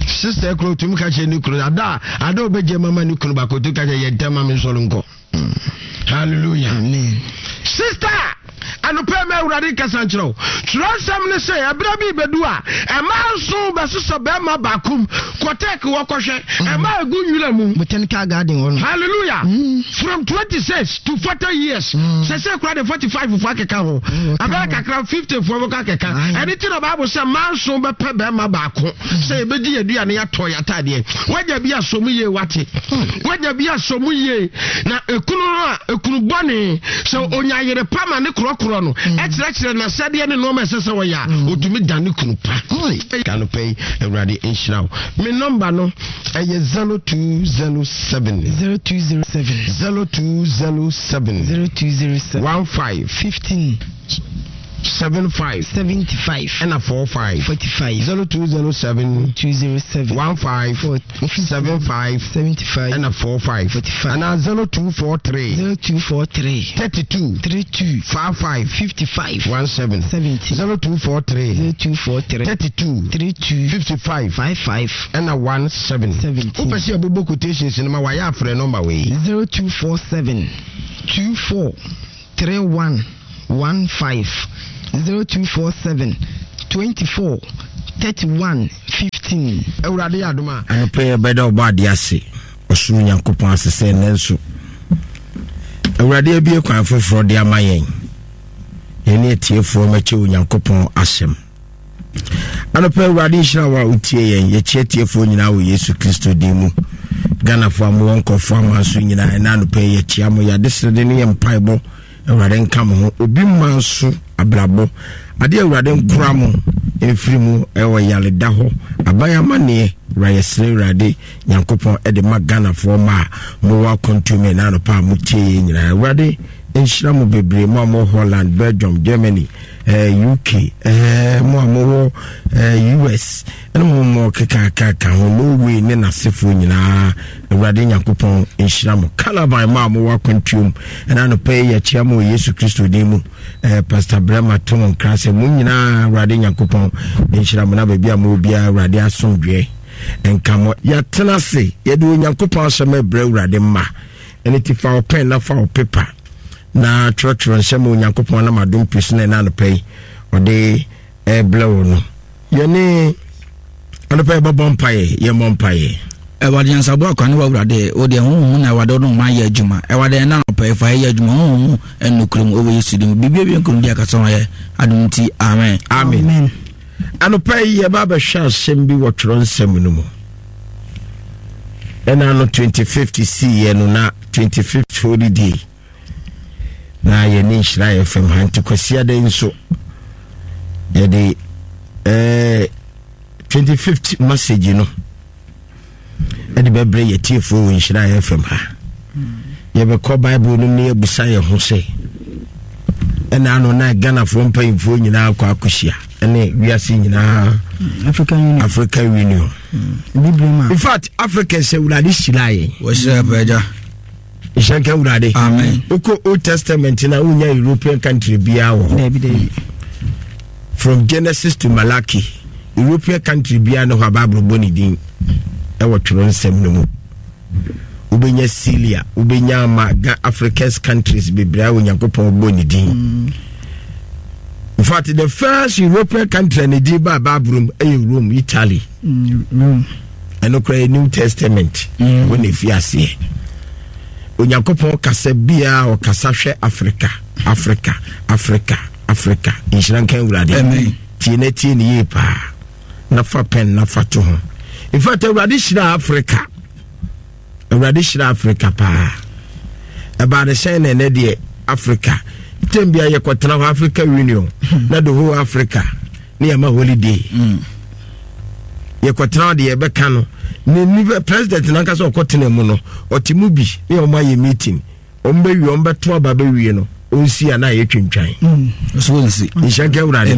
Sister kuro tumi ka kyerɛ ne kunu ada a ada ɔbɛgye mama ne kunu baako tumi ka kyerɛ yɛ ntɛm ma me nsɔre nkɔ. Hallelujah. Amen. Sister, anɔpɛ ma Awurade nkasa nkyerɛ wo. Twerɛnsɛm ne sɛ ɛberɛ bi bɛdu a ɛma nso bɛsosɔ bɛrima baako mu kɔtɛk wɔkɔhwɛ ɛma ɛgu nwura mu. Botanical garden hɔ no. Hallelujah. From 26 to 40 years. Sɛ sɛ kura de 45 fo akeka ho. Abɛyɛ kakra 50 fo bɛkɔ akeka. Ɛne ti na Bible sɛ mmaa nso bɛpɛ bɛrima baako sɛ yɛbɛgye yɛn aduane yɛatɔ yɛn ataadeɛ. Wanya bi asɔ mu yie wate. Wanya bi asɔ mu yie na ekunu no a ekunu bɔne sɛ onya yere pa ma ne korɔkorɔ no ɛkyerɛkyerɛ n'asɛdeɛ ne nneɛma ɛsɛ sɛ wɔyɛ a otumi da ne kunu pa. Anɔpa yi Awurade nhyira wo. Me nɔmba no ɛyɛ 0207. 0207. 0207. 0207. 15. 15. 75. 75. Ɛna 45. 45. 0207. 207. 15. 75. 75. Ɛna 45. 45. Anaa 0243. 0243. 32. 32. 55. 55. 17. 70. 0243. 0243. 32. 32. 55. 55. Ɛna 17. 17. Wopɛ sɛ yɛbobɔ quotations no ma wayɛ afrɛ nɔmba wei. 0247 24 31 15 0247 24 31 15. Awurade yɛ adom a. Anɔpa yi yɛbɛda Ɔbɔadeɛ ase, ɔsoro Nyankopɔn ase sɛ ɛnnɛ nso Awurade abue kwan foforɔ de ama yɛn. Yɛne atiefoɔ mɛkyɛ Onyankopɔn asɛm. Anɔpa Awurade nhyira wo a wotie yɛn. Yɛkyia atiefoɔ nyinaa wɔ Yesu Kristo din mu. Ghanafoɔ a mowɔ nkurɔfoɔ aman so nyinaa ɛna anɔpa yi yɛkyia mo. Yɛade srɛde ne yɛ mpaebɔ. Awurade nka mo ho. Obi mma nso abrabɔ. Adeɛ Awurade nkora mo mfiri mu ɛwɔ yareda hɔ. Aban amanneɛ wura yɛsrɛ Awurade Nyankopɔn ɛde ma Ghanafoɔ ma a mowɔ akwantuo mu ɛna anɔpa a motie yɛn nyinaa. Awurade nhyira mo bebree mo a mowɔ Holland, Belgium, Germany, eh, UK, eh, mo a mowɔ eh, US, ɛne mo mo kekakaka ho, Norway ne n'asefoɔ nyinaa, Awurade Nyankopɔn nhyira mo. Calabar mo a mowɔ akwantuom, ɛna anɔpa yi yɛkyea mo wɔ Yesu Kristo din mu. Eh, Pastor Brema to mo nkra sɛ mo nyinaa Awurade Nyankopɔn nhyira mo na baabi a mowɔ biara Awurade asomdwoeɛ nka mo. Yɛatena ase, yɛde Onyankopɔn asɛm ɛbrɛ Awurade mma. Ɛno ti fa wo pɛn na fa wo pepa na twerɛtwerɛ nsɛm a Onyankopɔn nam adom pii so na ɛna anɔpa yi ɔde ɛrebrɛ wo no. Yɛne anɔpa yi bɛbɔ mpaeɛ, yɛmmɔ mpaeɛ. Awurade nyansaboa kwan ne w'Awurade, wo deɛ honhom mu na Awurade wo ne ɔman yɛ adwuma. Awurade ɛna anɔpa yi fa yɛ adwuma honhom mu ɛne nokorɛ mu ɛwɔ Yesu din mu. Biribi awie nkonimdi akasa ho ayɛ adom nti amen. Amen. Anɔpa yi yɛba abɛhwɛ asɛm bi wɔ twerɛ nsɛm no mu. Ɛna no 25th siiɛ no na 25th holiday na yɛne nhyira yɛ fam ha nti kwasiada yi nso yɛde eh, 25th message no ɛde bɛbrɛ yɛ tiefoɔ wɔ nhyira fm ha yɛbɛkɔ bible no ne yɛbusa yɛ ho sɛ ɛna ano na ghanafoɔ mpanyimfoɔ nyinaa kɔ akɔhyia ɛne wiase nyinaa African Union, African Union. Mm. In fact Africa sɛ awurade hyira yɛn wɔhyira pɛgya nhyɛ nka awurade amen wokɔ old testament na wonya european country biara wɔ hɔ from genesis to malachi european country biara ne hɔ a bible bɔ ne din ɛwɔ twerɛ nsɛm no mu wobɛnya syria wobɛnya ama africans countries bebree a onyankopɔn bɔ ne din mm. in fact the first european country a ne din baa bible mu ɛyɛ rome italy mm, ɛno koraa yɛ new testament mm. wɔ na ɛfi aseɛ onyankopɔn kasa biara ɔkasa hwɛ africa africa africa africa nhyira nka awurade tie na tie ne yie paa na fa pɛn na fa to ho in fact awurade hyira africa awurade hyira africa paa ɛbaa ne sɛn na ɛnɛ deɛ africa tɛm bia yɛkɔtena hɔ africa union na the whole africa ne yɛma holiday mm. yɛkɔtena hɔ deɛ yɛbɛka no ne nipa president nankasa ɔkɔtena mu no ɔte mu bi ne ɔmo ayɛ meeting ɔmo bɛwie ɔmo bɛto aba bɛwie no ɔnsi a na ayɛ twintwan mm. nhyɛ nka awurade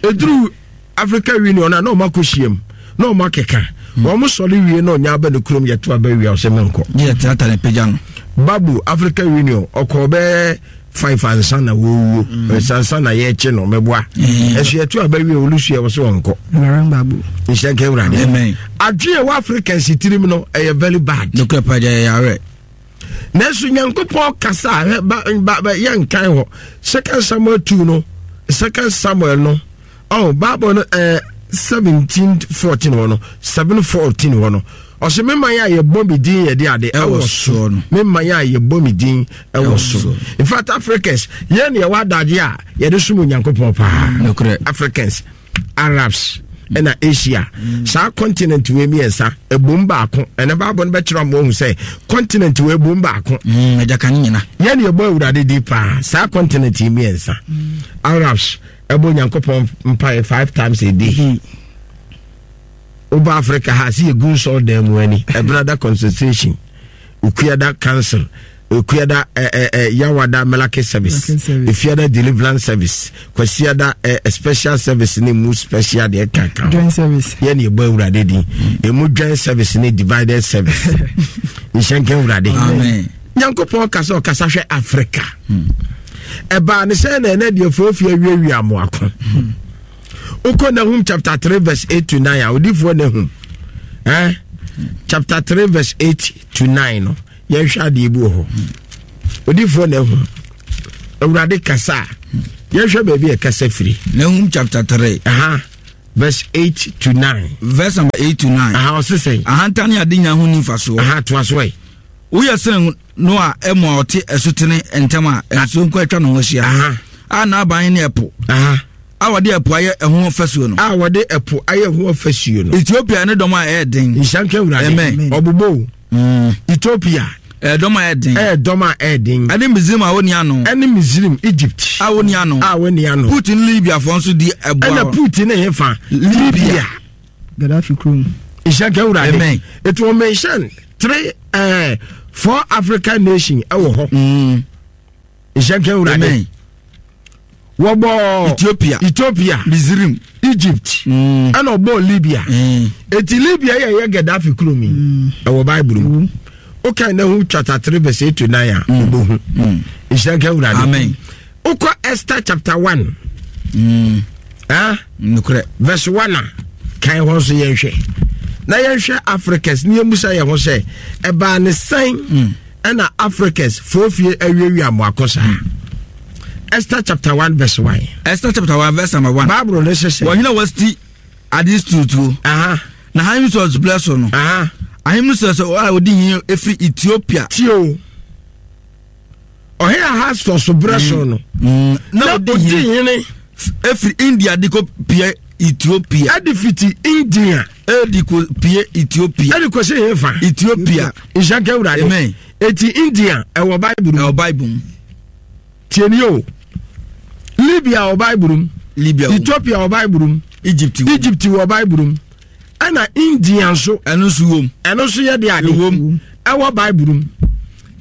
ɛduru Africa Union a na wɔn akɔ hyiam na wɔn akeka hmm. wɔn sɔre wie na ɔnya aba ne kurom yɛto aba wie a ɔsɛ menkɔ. Yɛ tenata ne pagya no. Babu Africa Union ɔkɔɔ bɛɛ five ansa na wɔwuo hmm. nsansa na yɛkye no mɛboa hmm. ɛso yɛto aba wie olusu yɛ wɔsɛ wɔnkɔ. Nhyɛ nka awurade. Adwene ɛwɔ Africans tirim no ɛyɛ very bad. Nokura pagya yɛ yareɛ. nanso nyankopɔn kasa a ba ba ba yɛnkan hɔ second samuel 2 no second samuel no oh bible no eh, 17 14 hɔ no 7 14 hɔ no ɔsɛ me man a yɛbɔ me din yɛde ade ɛwɔ so me man a yɛbɔ me din ɛwɔ so in fact africans yɛn ne yɛwɔ adagye a yɛde som onyankopɔn paa africans Arabs ɛna Asia mm. saa continent wei mmiɛnsa ɛbom baako ɛna baabɔ no bɛkyerɛ mo ahu sɛ continent wei ɛbom baako mm, ɛgyaka ne nyina yɛne ɛbɔ awurade di paa saa continent yi mmiɛnsa mm. Arabs ɛbɔ Nyankopɔn mpaeɛ five times a day mm. woba Africa ha sɛ yɛgu nsɔl dan mu ani ɛbenada concentration okuada council. Okuada eh, eh, eh, Yawada Melake service, Efiada deliverance service, Kwasiada eh, special service ne mu special deɛ kaka joint service. Yɛ ne ɛbɔ awurade din. Emu joint service ne divided service. Nhyɛnka awurade. Amen. Nyankopɔn kasa ɔkasa hwɛ Africa. Ɛbaa ne sɛ na ɛnɛ deɛ foofie awiawia amoako. Wokɔ Nahum chapter 3 verse 8 to 9 a odifoɔ Nahum. Eh? Chapter 3 verse 8 to 9 no. Yɛnhwɛ adeɛ bi wɔ hɔ. Odifoɔ Nahum. Awurade kasa a yɛnhwɛ baabi a ɛkasa firi. Nahum chapter 3. Aha. Verse 8 to 9. Verse number 8 to 9. Aha ɔse sɛn? Ahantan ne adenya ho ni mfasoɔ. Aha toa so ɛ. Woyɛ sɛ Noa ɛmo a ɔte asutene ntam a nsuo nko atwa ne ho ahyia. Aha. A n'aban ne ɛpo. Aha. A wɔde ɛpo ayɛ ɛho fasuo no. A wɔde ɛpo ayɛ ho fasuo no. Ethiopia ne dɔm a ɛyɛ den. Nhyira nka Awurade. Amen. Ɔbobɔ o. Mm. Ethiopia. Ɛyɛ dɔm a ɛyɛ den. Ɛyɛ dɔm a ɛyɛ den. Ɛne Misrim a wɔnni ano. Ɛne Misrim, Egypt. A wɔnni ano. A wɔnni ano. Put ne Libiafoɔ nso di ɛboa. Ɛna Put ne hefa? Libya. Gaddafi kurom. Nhyira nka Awurade. Amen. It will mention three, uh, four African nation ɛwɔ hɔ. Mm. Nhyira nka Awurade. Amen. Wɔbɔ Ethiopia. Ethiopia. Misrim. Egypt. Mm. Ɛna ɔbɔ Libya. Mm. Eti Libya yɛ yɛ Gaddafi kurom yi. Mm. Ɛwɔ Bible mu. Mm. Wokan Nahum chapter 3 verse 8 to 9 a, Mm. wobɛhu. Mm. Nhyira nka Awurade. Amen. Wokɔ Esther chapter 1. Mm. Ah? Nokorɛ. Verse 1 a, kan hɔ nso yɛnhwɛ. Na yɛnhwɛ Africans ne yɛmmusa yɛn ho sɛ, ɛbaa ne sɛn Mm. ɛna Africans foofie awiawia mmoako saa? Esther chapter 1 verse 1. Esther chapter 1 verse number 1. Bible no hyɛ sɛ. Wɔhene Wasti ade tutuo. Aha. Na ahemfo berɛ so no. Aha. Ahemfo sɛ a ɔdi hene ɛfiri Ethiopia. Tio. Ɔhene Ahasfos berɛ so no. Mm. Na ɔdi hene. Ɛfiri India de kɔ pie Ethiopia. Ɛde fiti India. Ɛde kɔ pie Ethiopia. Ɛde kɔ sɛ hefa. Ethiopia. Nhyɛ nka Awurade. Amen. Eti India ɛwɔ Bible mu. Ɛwɔ Bible mu. Tie ni o. Libya wɔ Bible mu. Libya wɔ. Ethiopia wɔ Bible mu. Egypt wɔ. Egypt wɔ Bible mu. Ɛna India nso. Ɛno nso wom. Ɛno nso yɛ de ade. Ɛwom. Ɛwɔ Bible mu.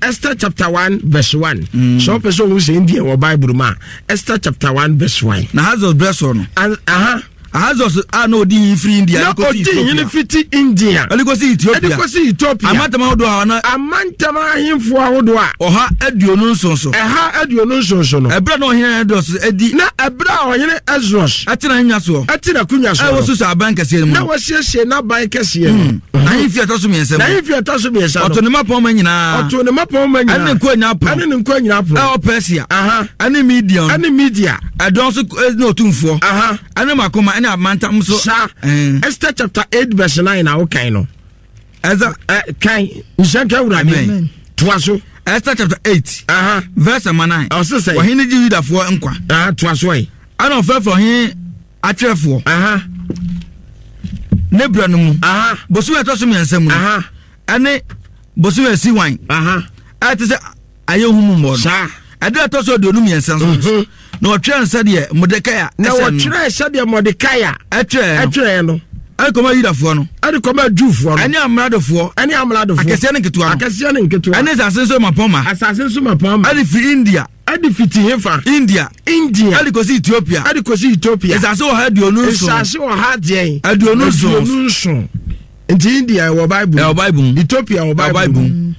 Esther chapter 1 verse 1. Mm. So ɔpɛ sɛ ohun sɛ India wɔ Bible mu a Esther chapter 1 verse 1. Na Hazael berɛ so no. Aha. Ahasuerus a na odi hene firi India na de kɔsi odi hene Ethiopia. fiti India Ɛde kɔsi Ethiopia. ɛde kɔsi Ethiopia. Amantam ahodoɔ a na Amantam ahemfo ahodoɔ a 127 so. 127 so no. Ɛberɛ a na ɔhene Ahasuerus adi. Na ɛberɛ a ɔhene Ahasuerus. Ɛte n'ahennwa soɔ. Ɛte n'akonnwa soɔ. Ɛwɔ Susa aban kɛseɛ no mu. Na wasiesie n'aban kɛseɛ no. N'ahemfie a ɛtɔ so mmiɛnsa mu. N'ahemfie a ɛtɔ so mmiɛnsa no. Ɔto ne mmapɔmma nyinaa. Ɔto ne mmapɔmma nyinaa. Ɛne ne nkoa nyinaa pono. Ɛne ne nkoa nyinaa pono. Ɛwɔ Persia. Aha. Ɛne Media. Ɛne Media. Ɛdɔn so ne otumfoɔ. Aha. Ɛne makoma ɛne amantam so. Saa. Esther chapter 8 verse 9 na wokan no. Esther. Kan nhyɛ nka Awurade. Amen. Toa so. Esther chapter 8. Aha. Verse number 9. Ɔse sɛ. Ɔhene gye Yudafoɔ nkwa. Aha, toa so ɛ. Ɛna ɔfrɛfrɛ ɔhene atwerɛfoɔ. Aha. Ne berɛ no mu. Aha. Bosome a ɛtɔ so mmiɛnsa mu no. Aha. Ɛne bosome a ɛsi wan. Aha. Ɛte sɛ ayɛ hu mu mmɔ no. Saa. Ɛda ɛtɔ so 23 so. Mhm. Na wɔtwerɛ no sɛdeɛ Mordekai Na ɛsɛ no. wɔtwerɛ sɛdeɛ Mordekai Ɛtwerɛ no. ɛtwerɛ no. Ɛde kɔma Yudafoɔ no. Ɛde kɔma Jewfoɔ no. Ɛne amradofoɔ. Ɛne amradofoɔ. Akɛseɛ ne nketewa no. Akɛseɛ ne nketewa. Ɛne asase nso mapɔnma. Asase nso mapɔnma. Ɛde firi India. Ɛde fiti hefa? India. India. Ɛde kɔsi Ethiopia. Ɛde kɔsi Ethiopia. Nsase 127. Nsase ɔha deɛn? 27. 27. Nti India ɛwɔ Bible. Ɛwɔ Bible mu. Ethiopia ɛwɔ Bible mu.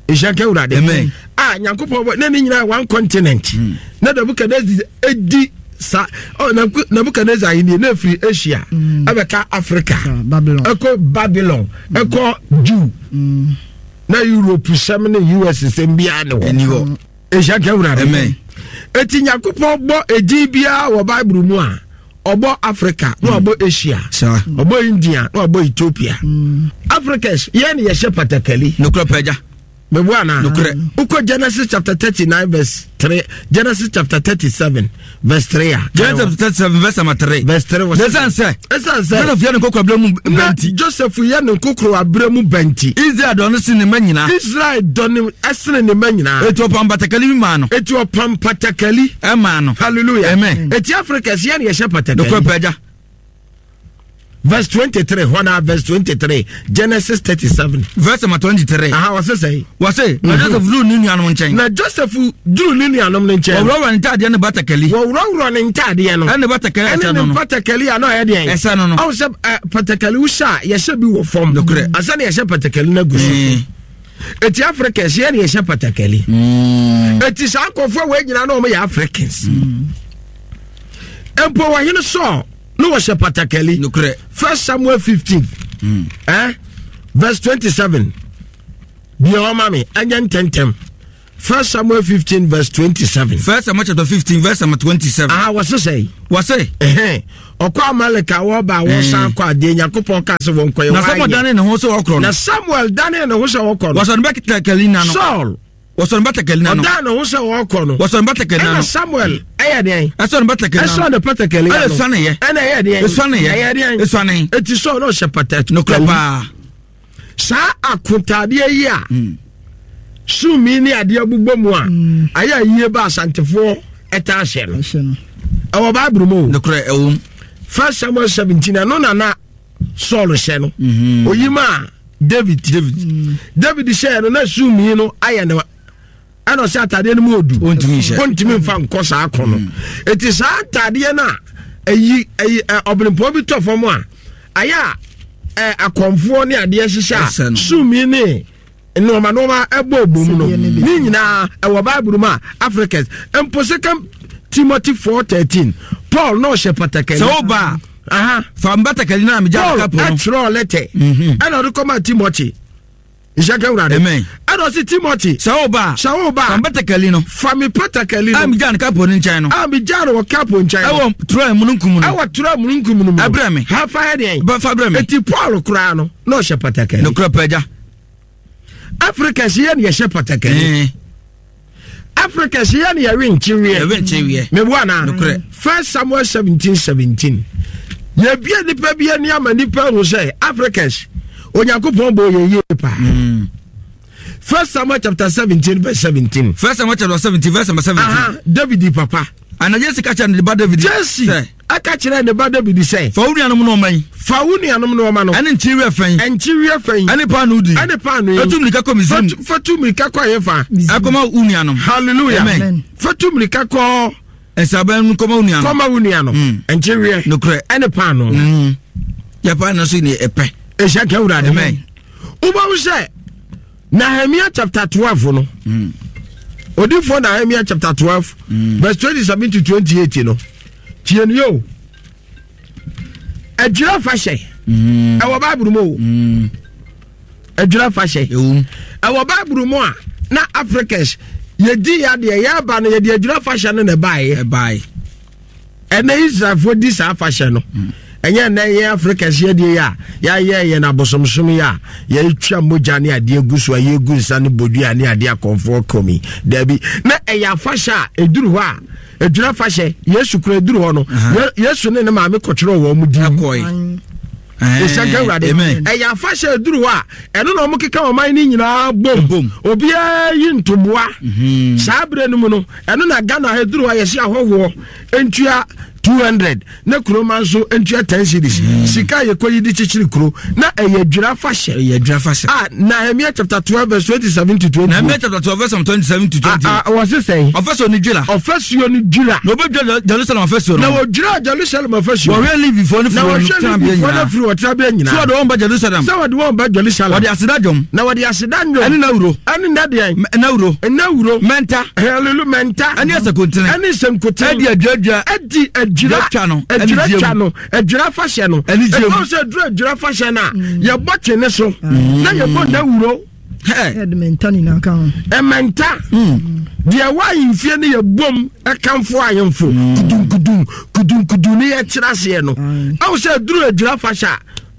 Nhyira nka Awurade. Amen. A Nyankopɔn bɔ na ne nyinaa one continent. Mm. Na Nebuchadnezzar edi sa oh Nebuchadnezzar ahenni na efiri Asia Hmm. ɛbɛka Africa. Babylon. Ɛkɔ Babylon. Ɛkɔ Jew. Mm. Na Europe sɛm ne US sɛm biara ne hɔ. Ɛni hɔ. Nhyira nka Awurade. Amen. Eti Nyankopɔn bɔ edin biara wɔ Bible mu a ɔbɔ Africa na Hmm. ɔbɔ Asia. Ɔbɔ India na ɔbɔ Ethiopia. Hmm. Africans yɛn na yɛhyɛ patakali. Nokorɛ pɛ agya. Mebu ana? Nokorɛ. Wokɔ Genesis chapter 39 verse 3, Genesis chapter 37 verse 3 a. Genesis chapter 37 verse number 3. Verse 3 wɔ sɛ. Ɛsiane sɛ. Ɛsiane sɛ. Joseph yɛ ne nkokoro abere mu bɛnti. Joseph yɛ ne nkokoro abere mu bɛnti. Israel dɔ no sene ne mma nyinaa. Israel dɔ no sene ne mma nyinaa. Eti ɔpam batakali bi maa no. Eti ɔpam patakali. Ɛmaa no. Hallelujah. Amen. Eti Africa si yɛ ne yɛhyɛ patakali. Nokorɛ pɛ agya. Verse 23 hɔ na verse 23 Genesis 37. Verse number 23. Aha wɔse sɛn? Wɔse na Joseph duru ne nuanom nkyɛn. Na Joseph duru ne nuanom no nkyɛn. Wɔworɔworɔ ne ntaadeɛ ne batakali. Wɔworɔworɔ ne ntaadeɛ no. Ɛne batakali ɛsɛ no no. Ɛne ne batakali a na ɔyɛ deɛn? Ɛsɛ no no. Ɔwɔ sɛ ɛ batakali wohyɛ a yɛhyɛ bi wɔ fam. Nokorɛ. Ansa na yɛhyɛ batakali no agu so. Eti Africans yɛ na yɛhyɛ batakali. Eti saa nkurɔfoɔ wɔ nyinaa na wɔn yɛ Africans. Mpo wɔhene Saul. na wɔhyɛ patakali nokorɛ first samuel 15 mm. eh? verse 27 deɛ ɔma me ɛnyɛ ntɛntɛm first samuel 15 verse 27 first samuel chapter 15 verse number 27 ah wɔse sɛ wɔse ɔkɔ amalek a wɔba a wɔsan kɔ adeɛ nyankopɔn kaa sɛ wɔnkɔyɛ na samuel dane ne ho sɛ wɔkorɔ no na samuel dane ne ho sɛ wɔkɔ no wɔsɔ ne bɛtakali na no saul Wɔsɔ ne batakari n'ano. Ɔdan ne ho sɛ ɔrekɔ no. Wɔsɔ ne batakari n'ano. Ɛna Samuel ɛyɛ deɛn? Ɛsɔ ne batakari n'ano. Ɛsɔ ne batakari n'ano. Ɛna esuane yɛ. Ɛna ɛyɛ deɛn? Esuane yɛ. Ɛyɛ deɛn? Esuane. Eti sɔɔ na ɔhyɛ patakari. Nokorɛ paa. Saa akotaadeɛ yi a hmm. sumi ne adeɛ bobɔ mu a hmm. ayɛ ayie ba asantefoɔ ɛtaa hyɛ no. Ɛwɔ Bible mu o. Nokorɛ ɛwɔ mu. First Samuel 17 ɛno nana Saul hyɛ no mhm. oyi maa David David mm. David hyɛ no na sumii no ayɛ no ɛna ɔsɛ ataadeɛ no mu odu ɔntumi nfa nkɔ saa kɔ no mm. eti saa ataadeɛ no a ɛyi ɛyi ɔbɛnpɔn bi tɔ fam a ayɛ a ɛ akɔnfoɔ ne adeɛ hyehyɛ a sumii ne nneɛma nneɛma ɛbɔ obom no ne nyinaa ɛwɔ bible mu a africans mpo second timothy 4:13 paul na ɔhyɛ patakali sɛ woba a fa mbatakali no a megya paul kapo no ɛtwerɛ lɛtɛ mhm. ɛna ɔde kɔma timothy nhyɛ ka wurade Amen. ɛna ɔse timothy sɛ woba a sɛ woba fa a mbatakali no fa me patakali a no megya no kapo no nkyɛn no a megya no wɔ kapo nkyɛn no ɛwɔ troa mununkum no ɛwɔ twerɛ mununkum no mu Ɛbrɛ me. ha fa yɛ deɛn bɛfa brɛ me eti paul koraa no na ɔhyɛ patakali nokorɛ pa agya africa si yɛ ne yɛhyɛ patakali eh. africa si yɛ ne yɛwe nkyeweɛ yɛwe nkyeweɛ meboa na nokorɛ first samuel 17 17 yɛbie nipa bi ani ama nipa ahu sɛ africans onyankopɔn bɔ yɛ yie paa mm. first samuel chapter 17 verse 17 first samuel chapter 17 verse number 17 Aha, david papa ana jesse ka kyerɛ ne ba david jesse Ɛka kyerɛɛ ne ba Dawid sɛ. Fa wo nuanom nnoɔma yi. Fa wo nuanom nnoɔma no. Ɛne nkyeweɛ fɛ yi. Nkyeweɛ fɛ yi. Ɛne paanoo du yi. Ɛne paanoo yi. Fa tu mmirika kɔ Misraim. Fa tu mmirika kɔ ɛhefa? Ɛkɔma wo nuanom. Hallelujah. Amen. Fa tu mmirika kɔ. Nsaban mu kɔma wo nuanom. Kɔma wo nuanom. Mm. Nkyeweɛ. Nokorɛ. Ɛne paanoo. Mm. Yɛ paanoo so ne ɛpɛ. Ehyɛ kɛ wura Amen. Wobɛhu sɛ Nehemiah chapter 12 no. Mm. Odifoɔ Nehemiah chapter 12 mm. verse 27 to 28 no. Tie no yɛ o. Adwira fa hyɛ. Mm. Ɛwɔ Bible mu o. Mm. Adwira fa hyɛ. Ɛwɔ Bible mu a na Africans yɛdi yɛ adeɛ yɛba no yɛde adwira fa hyɛ no na ɛbaeɛ. Ɛbaeɛ. Ɛnɛ Israelfoɔ di saa afahyɛ no. Mm. Ɛnyɛ ɛnɛ yɛn Africans yɛ deɛ yɛ a yɛayɛ yɛn abosomsom yɛ a yɛtwa mogya ne adeɛ gu so a yɛgu nsa ne bodua ne adeɛ akɔmfoɔ kɔmi. Daabi na ɛyɛ afahyɛ a ɛduru hɔ a Adwira fahyɛ Yesu kura eduru hɔ no Yesu ne ne maame kɔtwerɛ wɔn mu din. Ɛsɛnka awurade ɛyɛ afahyɛ eduru hɔ a ɛno na wɔn keka ɔman no nyinaa bom obiara yi ntoboa mhm. saa abirɛ no mu no ɛno na Ghana eduru hɔ a yɛsi ahɔhoɔ ntua 200 na kuroma nso ntua 10 cedis mm. sika a yɛkɔ yi de kyekyere kuro na ɛyɛ adwira fahyɛ ɛyɛ adwira fahyɛ ah Nehemiah chapter 12 verse 27 to 20 Nehemiah chapter 12 verse 27 to 20 ah, ah wɔ se sɛn ɔfasuo no dwira ɔfasuo no dwira na ɔbɛdwira Jerusalem afasuo no na wɔdwira Jerusalem afasuo wɔhwɛ Levifoɔ no firi wɔn tenabea nyinaa firi wɔn tenabea nyinaa sɛ wɔde wɔn ba Jerusalem sɛ wɔde wɔn ba Jerusalem wɔde aseda dwom na wɔde aseda nnwom ɛne nawuro ɛne nadeɛn nawuro nawuro mɛnta hallelujah mɛnta ɛne asakontene ɛne nsankuten ɛde adwiradwira ɛdi adwira twa no adwira twa no adwira fahyɛ no anigye mu ɛfɔm sɛ adwira adwira fahyɛ no a mm. yɛbɔ twene so mm. na yɛbɔ dawuro ɛmɛnta nyinaa ka ho ɛmɛnta mm. deɛ ɛwɔ ahemfie no yɛbom ɛkamfo ahemfo kudunkudun kudunkudun ne yɛkyerɛ aseɛ no ɛwɔ sɛ aduru adwira fahyɛ a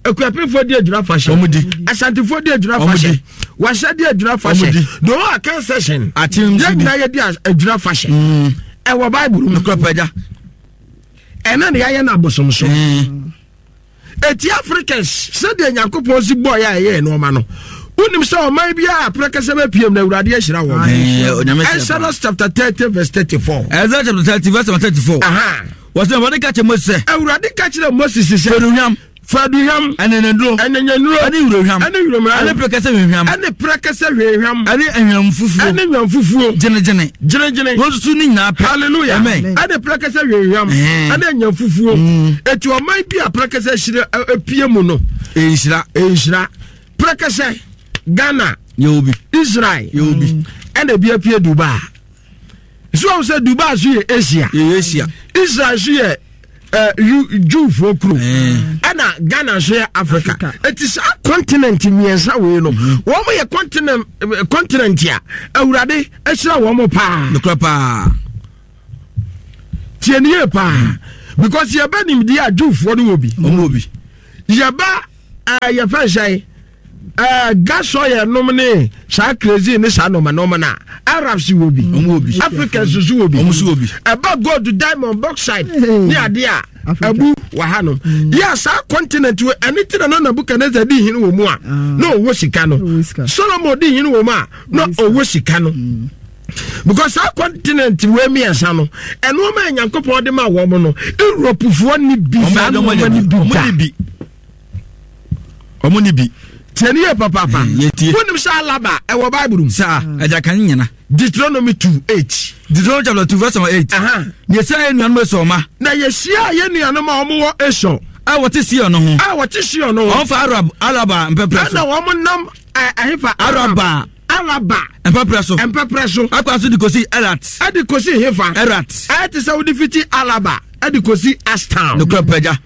akuapemfoɔ di adwira fahyɛ asantefoɔ di adwira fahyɛ wahyɛ di adwira fahyɛ the whole akan session yɛn nyinaa yɛdi adwira fahyɛ ɛwɔ bible mu ɛna ne yɛayɛ no abosomsom mm. ɛti africans sɛdeɛ nyankopɔn si bɔɔyɛ a ɛyɛɛ nnoɔma no wonim sɛ ɔman biara aprɛkɛsɛ bɛpiem na awurade ahyira wɔ exodus chapter 30 verse 34 exodus chapter 30 verse 34 wɔsɛ awurade ka kyerɛ moses sɛ awurade ka kyerɛ moses sɛ fɛnuhwam. Fa aduhwam. Ɛneneduro. Ɛnenenuro. Ɛne wurohwam. Ɛne wurohwam. Ɛne prekɛsɛ hwehwam. Ɛne prekɛsɛ hwehwam. Ɛne nhwam fufuo. Ɛne nhwam fufuo. Gyenegyene. Gyenegyene. Wɔn susu ne nyinaa pɛ. Hallelujah. Amen. Ɛne prekɛsɛ hwehwam. Ɛne nhwam fufuo. Eti ɔman bi a prekɛsɛ hyira epie mu no. Nhyira. Nhyira. Prekɛsɛ Ghana. Yɛ obi. Israel. Yɛ obi. Ɛna ebi apue Dubai. So wɔn sɛ Dubai so yɛ Asia. Yɛ Asia. Israel so yɛ eh, Jewfoɔ kuro. Ɛna Ghana nso yɛ Africa. Eti saa continent mmiɛnsa wei no, mhm. wɔn yɛ continent eh, continent a Awurade ahyira wɔn paa. Nokura paa. Tie ne yie paa. Mhm. Because yɛbɛ nimdeɛ a Jewfoɔ no wɔ bi. Wɔn wɔ bi. Yɛbɛ ɛɛ eh, yɛfɛ nhyɛn. Eh, gas oil nom ne saa crazy ne saa nɔɔma nɔɔma na Arabs wɔ bi, Africans nso wɔ bi, ɛba gold, diamond, bauxite ne adeɛ a abu wɔ ha nom. Mm. Yɛ saa continent wɔ ɛne ti na na Nebuchadnezzar di hene wɔ mu a ah. na ɔwɔ sika no, Solomon di hene wɔ mu a na ɔwɔ sika no. Mm. Because saa continent wɔ mmiɛnsa no, ɛnoɔma a Nyankopɔn de ma wɔn no, Europefoɔ ni bi saa nnoɔma ni bi da. ɔmo ni bi. tiɛ ni yɛ papaapa. Eh, yɛ wonim sɛ alaba ɛwɔ bible mu. saa ɛgya kan nyina. Deuteronomy 2:8. Deuteronomy chapter 2 verse number 8. Na yɛhyia yɛn nuanom Esau ma. Na yɛhyia yɛn nuanom a wɔn wɔ Esau. A wɔte Sion no ho. A wɔte Sion no ho. Wɔn fa Arab Araba mpɛprɛ so. Ɛna wɔn nam ɛhefa. Araba. Araba. Mpɛprɛ so. Mpɛprɛ so. Akwa so de kosi Erat. Ɛde kosi hefa. Erat. Ɛte sɛ wode fiti Alaba ɛde kosi Ashtown. Nokura pɛgya.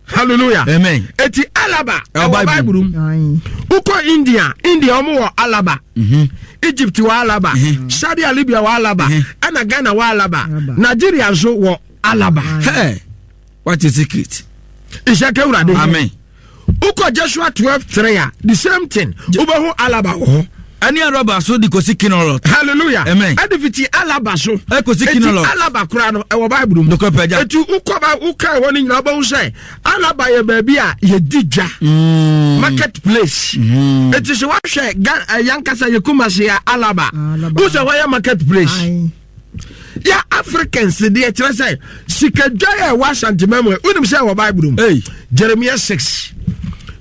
Hallelujah. Amen. Eti Alaba ɛwɔ Bible mu. Wokɔ India, India wɔn wɔ Alaba. Mhm. Egypt wɔ Alaba. Mhm. Saudi Arabia wɔ Alaba. Mhm. Ɛna Ghana wɔ Alaba. Nigeria nso wɔ Alaba. Hey, what is secret? Nhyɛ kewurade. Amen. Wokɔ Joshua 12:3 a the same thing. Wobɛhu Alaba wɔ hɔ. Ɛne Araba so de kɔsi Kinerot. Hallelujah. Amen. Ɛde fiti Alaba so. Ɛkɔsi Kinerot. Eti Alaba koraa no ɛwɔ Bible mu. Nokorɛ pɛ gya. Eti wokɔ ba woka ɛhɔ no nyinaa wobɛhu sɛ Alaba yɛ baabi a yɛdi dwa. Mm. Market place. Mm. Eti sɛ woahwɛ Ga eh, yankasa yɛ Kumasi a Alaba. Alaba. Wo sɛ hɔ yɛ market place. Aye. Yɛ Africans deɛ kyerɛ sɛ sikadwa yɛ ɛwɔ Asantema mu wonim sɛ ɛwɔ Bible mu. Hey. Jeremiah 6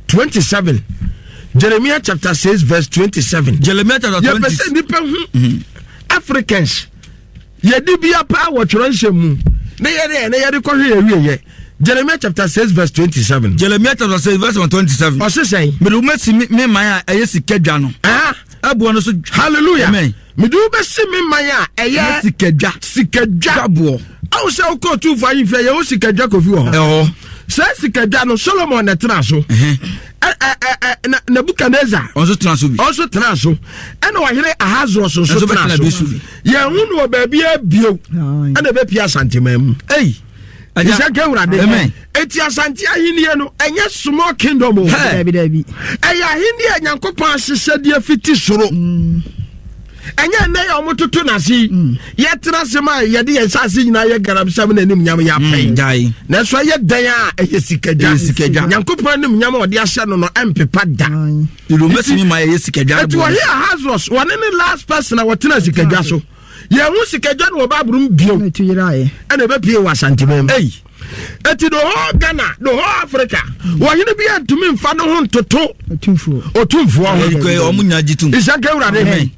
27. Jeremiah chapter 6 verse 27. Jeremiah chapter 20. Yɛpɛ sɛ nnipa hu mhm. Africans yɛde bia paa wɔ twerɛ nsɛm mu na yɛde ɛnɛ yɛde kɔhwɛ yɛwieyɛ. Jeremiah chapter 6 verse 27. Jeremiah chapter 6 verse 27. Ɔse sɛn? Mede wo mɛsi me man a ɛyɛ sika dwa no. Ɛboɔ no so. Hallelujah. Amen. Mede wo bɛsi me man a ɛyɛ sikadwa. Sikadwa. Dwaboɔ. Awo sɛ wokɔ ɔtumfoɔ ahemfie yɛwɔ sikadwa kofi wɔ hɔ. Ɛhɔ. Saa sikadwa no Solomon na ɛtena so. Nebuchadnezzar. Ɔnso tena so bi. Ɔnso tena so. Ɛna ɔhene Ahasuerus nso tena so. Yɛn ho no wɔ baabi abio. Ɛna ɛbɛpia Asanteman mu. Ei. Nhyɛ nka Awurade. Eti Asante ahenni no ɛnyɛ small kingdom o. Ɛyɛ ahenni a Nyankopɔn ahyehyɛdeɛ fiti soro. Mm. Ɛnyɛ nnɛ yɛ ɔmo toto n'ase yi. Mm. Yɛtena ase ma yɛde yɛn nsa nyinaa yɛ garamsɛm na anim nyam yɛ apɛn. Mm, Nanso ɛyɛ dɛn a ɛyɛ sikadwa. Nyankopɔn anim nyam a ɔde ahyɛ no no ɛmpepa da. Eti wɔhe Ahasuerus wɔne ne last person a wɔtena sikadwa so. Yɛn ho sikadwa no wɔ Bible mu bio. Ɛna ɛbɛpie wɔ Asantema mu. Eti the whole Ghana, the whole Africa, wɔhene bi antumi nfa ne ho ntoto otumfoɔ ho. Nhyɛnka Awurade.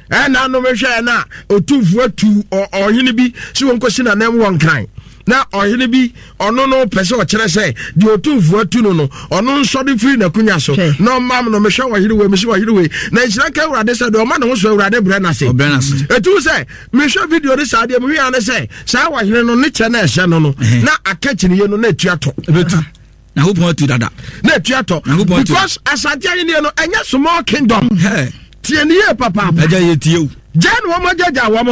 Ɛna anom hwɛ na otumfoɔ atu ɔhene bi sɛ wɔnkɔsi n'anam wɔ nkran. Na ɔhene bi ɔno no pɛ sɛ ɔkyerɛ sɛ deɛ otumfoɔ atu no no ɔno nsɔre firi n'akonya so na ɔmam no mehwɛ ɔhene wei mehwɛ ɔhene wei na nhyira nka Awurade sɛ deɛ ɔma ne ho so Awurade brɛ n'ase. Ɛtu sɛ mehwɛ video no saa deɛ mehwɛ ne sɛ saa ɔhene no ne kyɛ na ɛhyɛ no no na aka kyiniye no na ɛtua tɔ ɛbɛtu nyankopɔn atu dada na ɛtua tɔ because asante ahenni no ɛnyɛ small kingdom tie ne yie papaapa ɛgya yɛ tie o gya na wɔn agyagya wɔn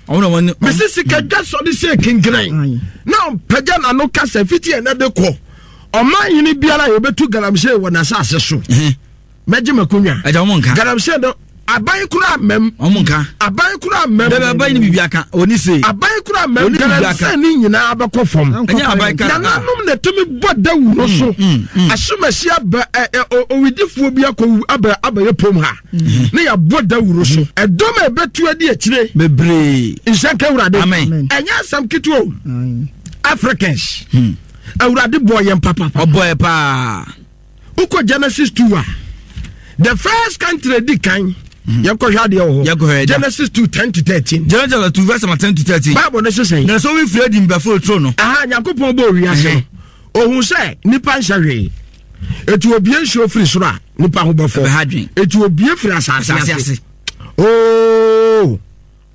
ho mesi sika dwa sɔde sɛ kinkran na ɔmpagya n'ano kasa fiti ɛnɛ de kɔ ɔman hene biara a yɛbɛtu galamsey wɔ n'asase so mɛgye m'akonnwa. Ɛgya wɔn nka. Galamsey no aban kura mɛm. Wɔn nka. Aban kura mɛm. Dɛbɛ aban ni bibi aka oni se. Aban kura mɛm galamsey ni nyinaa bɛkɔ fam. Ɛnyɛ aban ka. Nananom na tumi bɔ dawuro so. Mm, mm, mm. Asomasi aba ɛ ɛ owidifoɔ bi akɔ aba abɛyɛ pom ha. Ne yɛabɔ dawuro so. Ɛdɔm a ɛbɛtu adi akyire. Bebree. Nhyɛ nka Awurade. Amen. Ɛnyɛ asɛm ketewa o. Africans. Hmm. Awurade bɔɔ yɛn papapa. Ɔbɔɔ yɛ paa. Wokɔ Genesis 2 a, the first country di kan. Yɛnkɔhwɛ adeɛ wɔ hɔ. Genesis 2 10 to 13. Genesis chapter 2 verse number 10 to 13. Bible ne sesɛn. Na sɛ obi firi adi mbɛforo turo no. Aha, Nyankopɔn bɔɔ wiase no. Ohun sɛ nipa nhyɛ hwee. Eti obie nsuo firi soro a nipa ho bɛfɔ. Eti obie firi asase ase. Oh!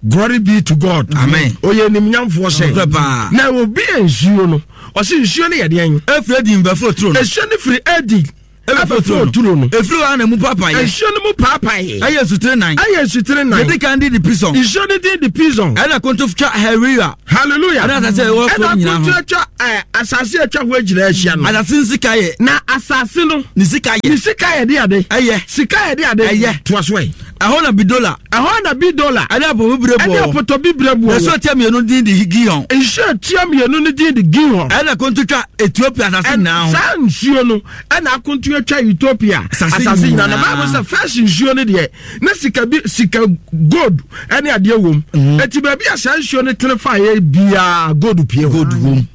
Glory be to God. Amen. Oyɛ nimnyamfoɔ sɛ. Na obi yɛ nsuo no. Ɔsi nsuo no yɛ deɛn? Efiri edi nbɛforo turo no. Nsuo no firi edi. Ɛbɛforo turo no. Efiri hɔ na emu paapae. Nsuo no mu paapae. Ɛyɛ nsutire nan. Ɛyɛ nsutire nan. Yɛdi kan di di pison. Nsuo no di di pison. Ɛna konto twa Hawila. Hallelujah. Ɛna asase ɛwɔ fam nyinaa ho. Ɛna konto twa ɛɛ asase atwa ho agyina ahyia no. Asase no sika yɛ. Na asase no. Ne sika yɛ. Ne sika yɛ de ade. Ɛyɛ. Sika yɛ de ade. Ɛyɛ. Toa so ɛ. Ɛhɔ na Bidola. Ɛhɔ na Bidola. Ɛne apɔtɔ bibire boɔ. Ɛne apɔtɔ bibire boɔ. Na nsuo tia mmienu din de Gihon. Nsuo tia mmienu no din de Gihon. Ɛna akonto twa Ethiopia asase nyinaa ho. Saa nsuo no ɛna akonto atwa Ethiopia asase nyinaa. Na Bible sɛ first nsuo no deɛ na sika bi sika gold ɛne adeɛ wom. Mhm. Eti baabi a saa nsuo no tene fa yɛ biara gold pie hɔ. Gold wom.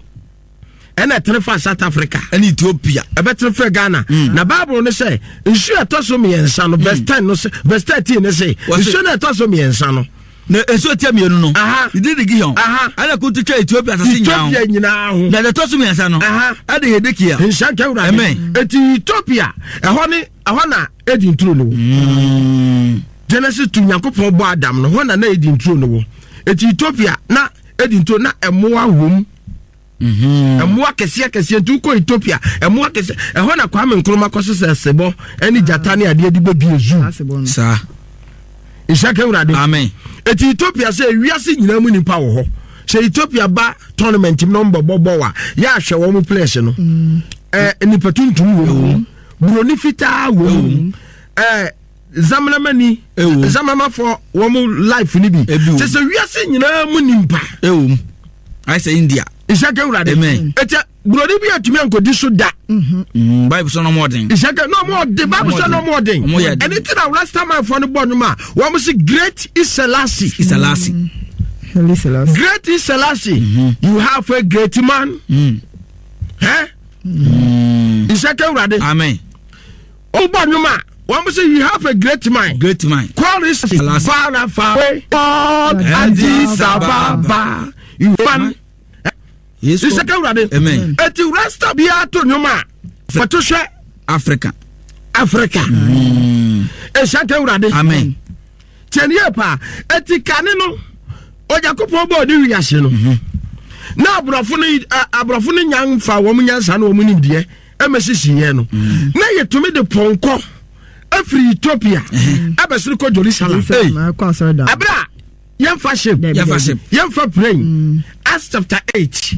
Ɛna ɛtene fa South Africa. Ɛne Ethiopia. Ɛbɛtene fa Ghana. Mm. Na Bible no sɛ nsuo ɛtɔ so mmiɛnsa no verse mm. 10 no sɛ verse 13 no sɛ nsuo no ɛtɔ so mmiɛnsa no. Na nsuo tia mmienu no. Ne din de Gihon. Ɛna kuntu twa Ethiopia asase nyinaa ho. Ethiopia nyinaa ho. Na ɛtɔ so mmiɛnsa no. Ɛde Hedekia. Nhyɛ nka Awurade. Amen. Eti Ethiopia ɛhɔ ne ɛhɔ na Eden turo no wɔ. Mm. Genesis 2 Nyankopɔn bɔ Adam no hɔ na na Eden turo no wɔ. Eti Ethiopia na Eden turo na ɛmoa wom. Mhm. Mmoa kɛseɛ kɛseɛ nti wokɔ Ethiopia mmoa kɛseɛ ɛhɔ na Kwame Nkrumah kɔ sesɛ sebɔ ɛne gyata ne adeɛ de bɛbie zoo. Saa. Nhyɛ ka Awurade. Amen. Eti Ethiopia sɛ wiase nyinaa mu nipa wɔ hɔ sɛ Ethiopia ba tournament mu na wɔn bɛbɔ bɔɔl a yɛ ahwɛ wɔn players no mm. ɛɛ nipa tuntum wɔ mu buroni fitaa wɔ mu ɛɛ. Zamnamani Zamnamafo wɔn life ni bi kyɛ sɛ wiase nyinaa mu nimpa. Ɛwom ayɛ sɛ India. Nhyɛnka wurade. Amen. Ɛkyɛ buroni bi atumi ankɔdi so da. Mhm. Mm, Bible sɛ ɔmo ɔden. Nhyɛnka na ɔmo ɔden Bible sɛ na ɔmo ɔden. Ɛne ti na Rastamanfoɔ no bɔ nnwom a wɔn si Great Iselasi. Iselasi. Mm. Great Iselasi. Mm -hmm. You have a great man. Mm. Eh? Mm. Nhyɛnka wurade. Amen. Wobɔ nnwom a wɔn sɛ you have a great mind. Great mind. Call is far far away. All Addis Ababa. You fan. Yesu. Isaka wurade. Amen. Eti rasta biara to nnwom a wɔto hwɛ. Africa. Africa. Isaka wurade. Amen. Tiɛni yɛ paa. Eti kane no Onyankopɔn bɔɔ ne wiase no. Mhm. Na aborɔfo no aborɔfo no nya nfa wɔn nyansa na wɔn nimdeɛ. Ɛmɛsisi yɛn no mm. na yɛtumi de pɔnkɔ afiri Ethiopia ɛbɛsoro kɔ Jerusalem ɛberɛ a yɛmfa ship yɛmfa plane mm. Acts chapter 8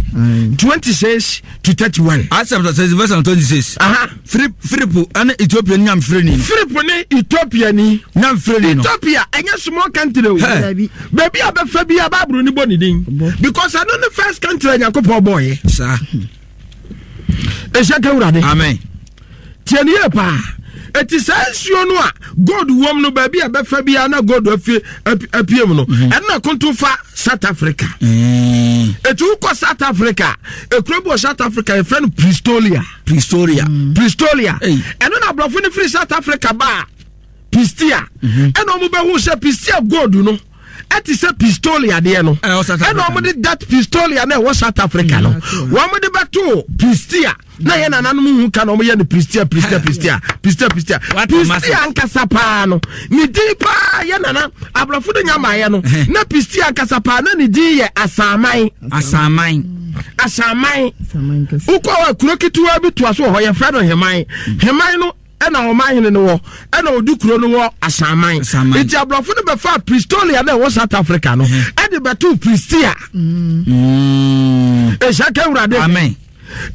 26 to 31. Acts chapter 6 verse 26. Philip ɛne Ethiopia ni nyamfrɛ ni. Philip ne Ethiopia ni. Nyamfrɛ ni no. Ethiopia ɛnyɛ small country o. Baabi a bɛfa bi a Bible ni bɔ ne din. Because ɛno ne first country a Nyankopɔn bɔɔyɛ. Saa. Ɛhyɛ ka wurade. Amen. Tie ne yie paa. Eti saa nsuo no a gold wɔm no baabi a bɛfa biara na gold afie apue mu no mhm. ɛno na konto fa South Africa. Mm. Eti wokɔ South Africa ekuro bi wɔ South Africa yɛfrɛ no Pretoria. Pretoria. Mm. Pretoria. Ɛno na aborɔfo no firi South Africa ba Pistia mhm. ɛna wɔn bɛhu sɛ Pistia gold no. ɛte sɛ pistoli adeɛ no ɛna wɔn de that pistoli a na ɛwɔ South Africa no wɔn de bɛto pistia na yɛ nananom hu ka na wɔn yɛ no pistia pistia pistia pistia pistia pistia ankasa paa no ne din paa yɛ nana aborɔfo no nya maayɛ no na pistia ankasa paa na ne din yɛ asaman asaman asaman wokɔ hɔ kuro ketewa bi toa so wɔ hɔ yɛfrɛ no heman heman no ɛna wɔn ahene no wɔ ɛna ɔdi kuro no wɔ asaman nti aborɔfo no bɛfa Pretoria na ɛwɔ South Africa no mhm. ɛde bɛto Pristia ɛhyɛ mm. ka awurade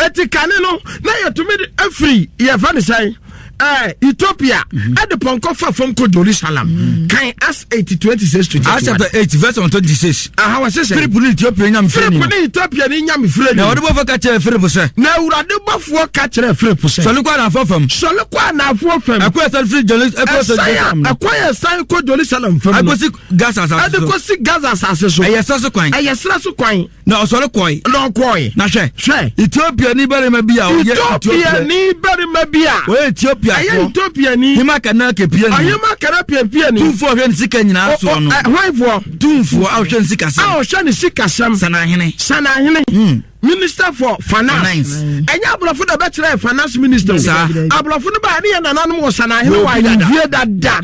eti kane no na yɛtumi afiri yɛfɛ ne sɛn. Eh, Ethiopia mhm. ɛde pɔnkɔ fa fam kɔ Jerusalem. Mhm. Kan Acts 8 26 to 31. Acts chapter 8 verse 26. Aha wɔ sese. Philip ne Ethiopia nyame firi ni. Philip ne Ethiopia ni nyame firi ni. Na awurade bɔfoɔ ka kyerɛ Philip sɛ. Na awurade bɔfoɔ ka kyerɛ Philip sɛ. Sɔre kɔ anaafoɔ fam. Sɔre kɔ anaafoɔ fam. Ɛkɔ ɛsan firi Jerusalem. Ɛsan a ɛkɔ yɛ san kɔ Jerusalem fam. Ɛkɔsi Gaza asase so. Ɛde kɔsi Gaza asase so. Ɛyɛ serɛ so kwan. Ɛyɛ serɛ so kwan. Na ɔsɔre kɔe. Na ɔkɔe. Na hwɛ. Hwɛ. Etiopiani barima bi a ɔyɛ Etiopiani barima bi a. Ɔyɛ Etiopiafoɔ. Ɛyɛ Etiopiani. Hema kana kepiani. Ɔhema kana piapiani. Tumfoɔ a ɔhwɛ ne sika nyinaa soɔ no. Hwanfoɔ. Tumfoɔ a ɔhwɛ ne sikasɛm. A ɔhwɛ ne sikasɛm. Sanahene. Sanahene. Hmm. Minister for finance. Ɛnyɛ aborɔfo na ɛbɛkyerɛ finance minister o. Aborɔfo no baa ne yɛ nananom wɔ sanahene wɔ ahemfie dada.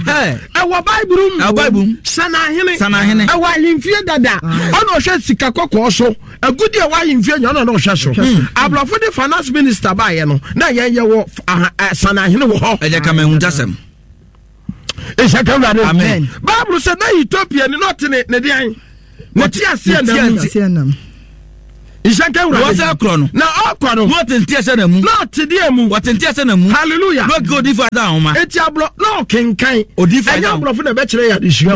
Ɛwɔ Bible mu. Ɛwɔ Bible mu. Sanahene. Sanahene. Ɛwɔ ahemfie dada. Ɔna ɔhwɛ sika kɔkɔɔ so. Agudi ɛwɔ ahemfie nyɛ ɔna ɔhwɛ so. Aborɔfo de finance minister baayɛ no na yɛn yɛ wɔ sanahene wɔ hɔ. Ɛyɛ kama ehuntasɛm. Nhyɛ ka Awurade. Amen. Bible sɛ na Ethiopia ni na ɔte ne ne deɛn ne ti aseɛ nam mu. Nhyɛ nka Awurade. Wɔsɛ korɔ no. Na ɔkɔ no. Na ɔte nte aseɛ nam mu. Na ɔte deɛ mu. Wɔte nte aseɛ nam mu. Hallelujah. Na ɔkeka odiifo Isaiah nwoma. Eti aborɔ na ɔkenkan. Odiifo Isaiah. Ɛnyɛ aborɔfo na ɛbɛkyerɛ yɛ adesua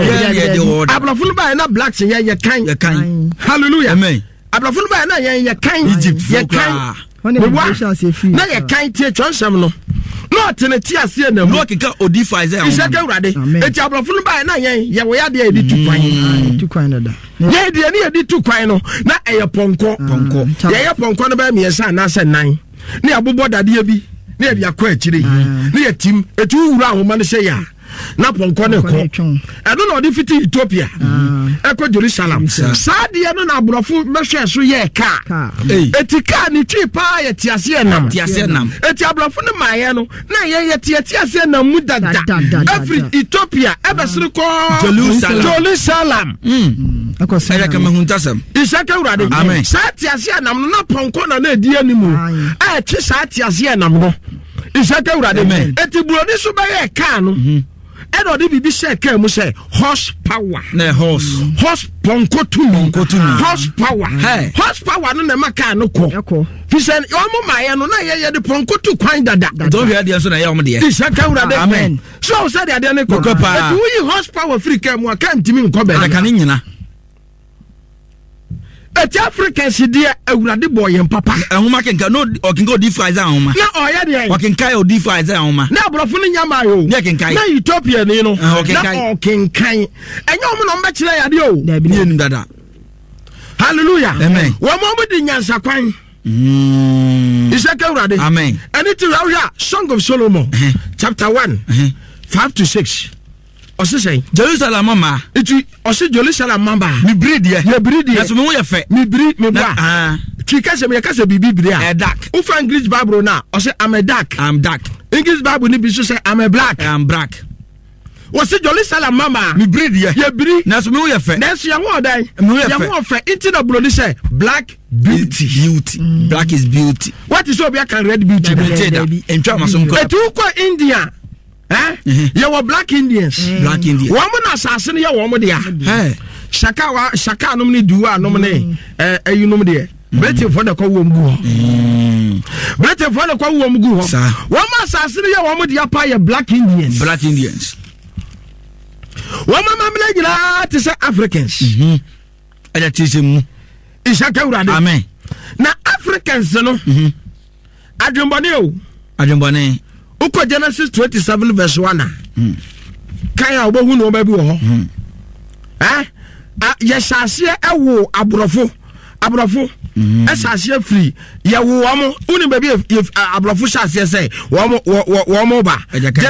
o. Aborɔfo no baayɛ na blacks yɛ yɛ kan. Yɛ kan. Hallelujah. Amen. Aborɔfo no baayɛ na yɛn yɛ kan. Egypt fo yɛ kan. Meboa na yɛ kan tie twerɛnsɛm no na ɔte ne te aseɛ na mu. Na ɔkeka odiifo Isaiah nwoma. Nhyɛ nka Awurade. Eti aborɔfo no baayɛ na yɛn yɛ wɔ yɛ adeɛ yɛde tu kwan. Tu kwan dada. Yɛn deɛ ne yɛde tu kwan no na ɛyɛ pɔnkɔ. Pɔnkɔ. Yɛyɛ pɔnkɔ no bɛyɛ mmiɛnsa anaasɛ nan ne yɛabobɔ dadeɛ bi ne yɛde akɔ akyire ne yɛtim eti wowura ahoma no sɛ yɛ a na pɔnkɔ no kɔ ɛno na ɔde fiti Ethiopia ɛkɔ Jerusalem saa deɛ no na aborɔfo bɛhwɛ so yɛɛ kaa eti kaa ne twi paa yɛ teaseɛ nam eti aborɔfo no maayɛ no na yɛn yɛ teɛ teaseɛ nam mu dada ɛfiri Ethiopia ɛbɛsere kɔ Jerusalem ɛyɛ kama huntasɛm nhyɛ ka Awurade saa teaseɛ nam no na pɔnkɔ na na ɛdi anim a ɛtwe saa teaseɛ nam no nhyɛ ka Awurade eti buroni so bɛyɛ kaa no mhm. ɛna ɔde biribi hyɛ kaa mu sɛ horse power na horse horse pɔnkɔ tumi pɔnkɔ tumi horse power horse power no na ɛma kaa no kɔ fisɛ wɔn maa yɛ no na yɛ yɛ de pɔnkɔ tu kwan dada. Dɔw hwɛ adeɛ nso na ɛyɛ wɔn deɛ. Nhyɛ ka Awurade amen. So sɛ de adeɛ no kɔ eti woyi horse power firi kaa mu a kaa ntumi nkɔ bɛɛ. Ɛna ka ne nyina. Eti Africans deɛ awurade bɔ yɛn papa. Nhoma kenkan no ɔkenkan odiifo Isaiah nhoma. Na ɔyɛ deɛ. Ɔkenkan odiifo Isaiah nhoma. Na aborɔfo no nya maa o. Ne ɛkenkan. Na Ethiopia ni no. Ɔkenkan. Na ɔkenkan. Ɛnyɛ wɔn na wɔn bɛkyerɛ yadeɛ o. Dabi ne yɛnum dada. Hallelujah. Amen. Wɔn wɔn di nyansa kwan. Isɛ kɛ awurade. Amen. Ɛne ti wura wohwɛ Song of Solomon chapter 1 5 to 6. Ɔse sɛn? Jerusalem mma. Nti ɔse Jerusalem mma baa. Mebiri deɛ. Yɛbiri deɛ. Nanso me ho yɛ fɛ. Mebiri meboa. Ah. Twi kasa mu yɛka sɛ biribi biri a. Ɛyɛ dark. Wofa English Bible no a ɔse I'm a dark. I'm dark. English Bible no bi nso sɛ I'm a black. I'm black. Wɔse Jerusalem mma maa. Mebiri deɛ. Yɛbiri. Nanso me ho yɛ fɛ. Nanso yɛn ho ɔdan. Me ho yɛ fɛ. Yɛn ho ɔfɛ. Nti na buroni sɛ black beauty. Beauty. Black is beauty. What is obi aka red beauty? Beauty da. Ntwa ma so nkɔ. Eti wokɔ India. Eh? Yɛwɔ black Indians. Mm. Black Indians. Wɔn mo na asase no yɛ wɔn dea. Shaka wa shaka nom ne duwa nom ne mm. eh, ɛyi nom deɛ. Mm. Britain fo na kɔ wɔm gu hɔ. Britain fo na kɔ wɔm gu hɔ. Wɔn mo asase no yɛ wɔn dea pa yɛ black Indians. Black Indians. Wɔn amammerɛ nyinaa te sɛ Africans. Mm-hmm. Ɛyɛ te sɛ mu. Nhyɛ kawurade. Amen. Na Africans no. Mm-hmm. Adwenbɔne o. Adwenbɔne. Wokɔ Genesis 27 verse 1 a. Hmm. Kan a wobɛhu nneɛma bi wɔ hɔ. Hmm. Eh? Yɛhyɛ aseɛ ɛwo aborɔfo. Aborɔfo hmm. ɛhyɛ aseɛ firi yɛwo wɔn. Wonim baabi aborɔfo hyɛ aseɛ sɛ wɔn ba.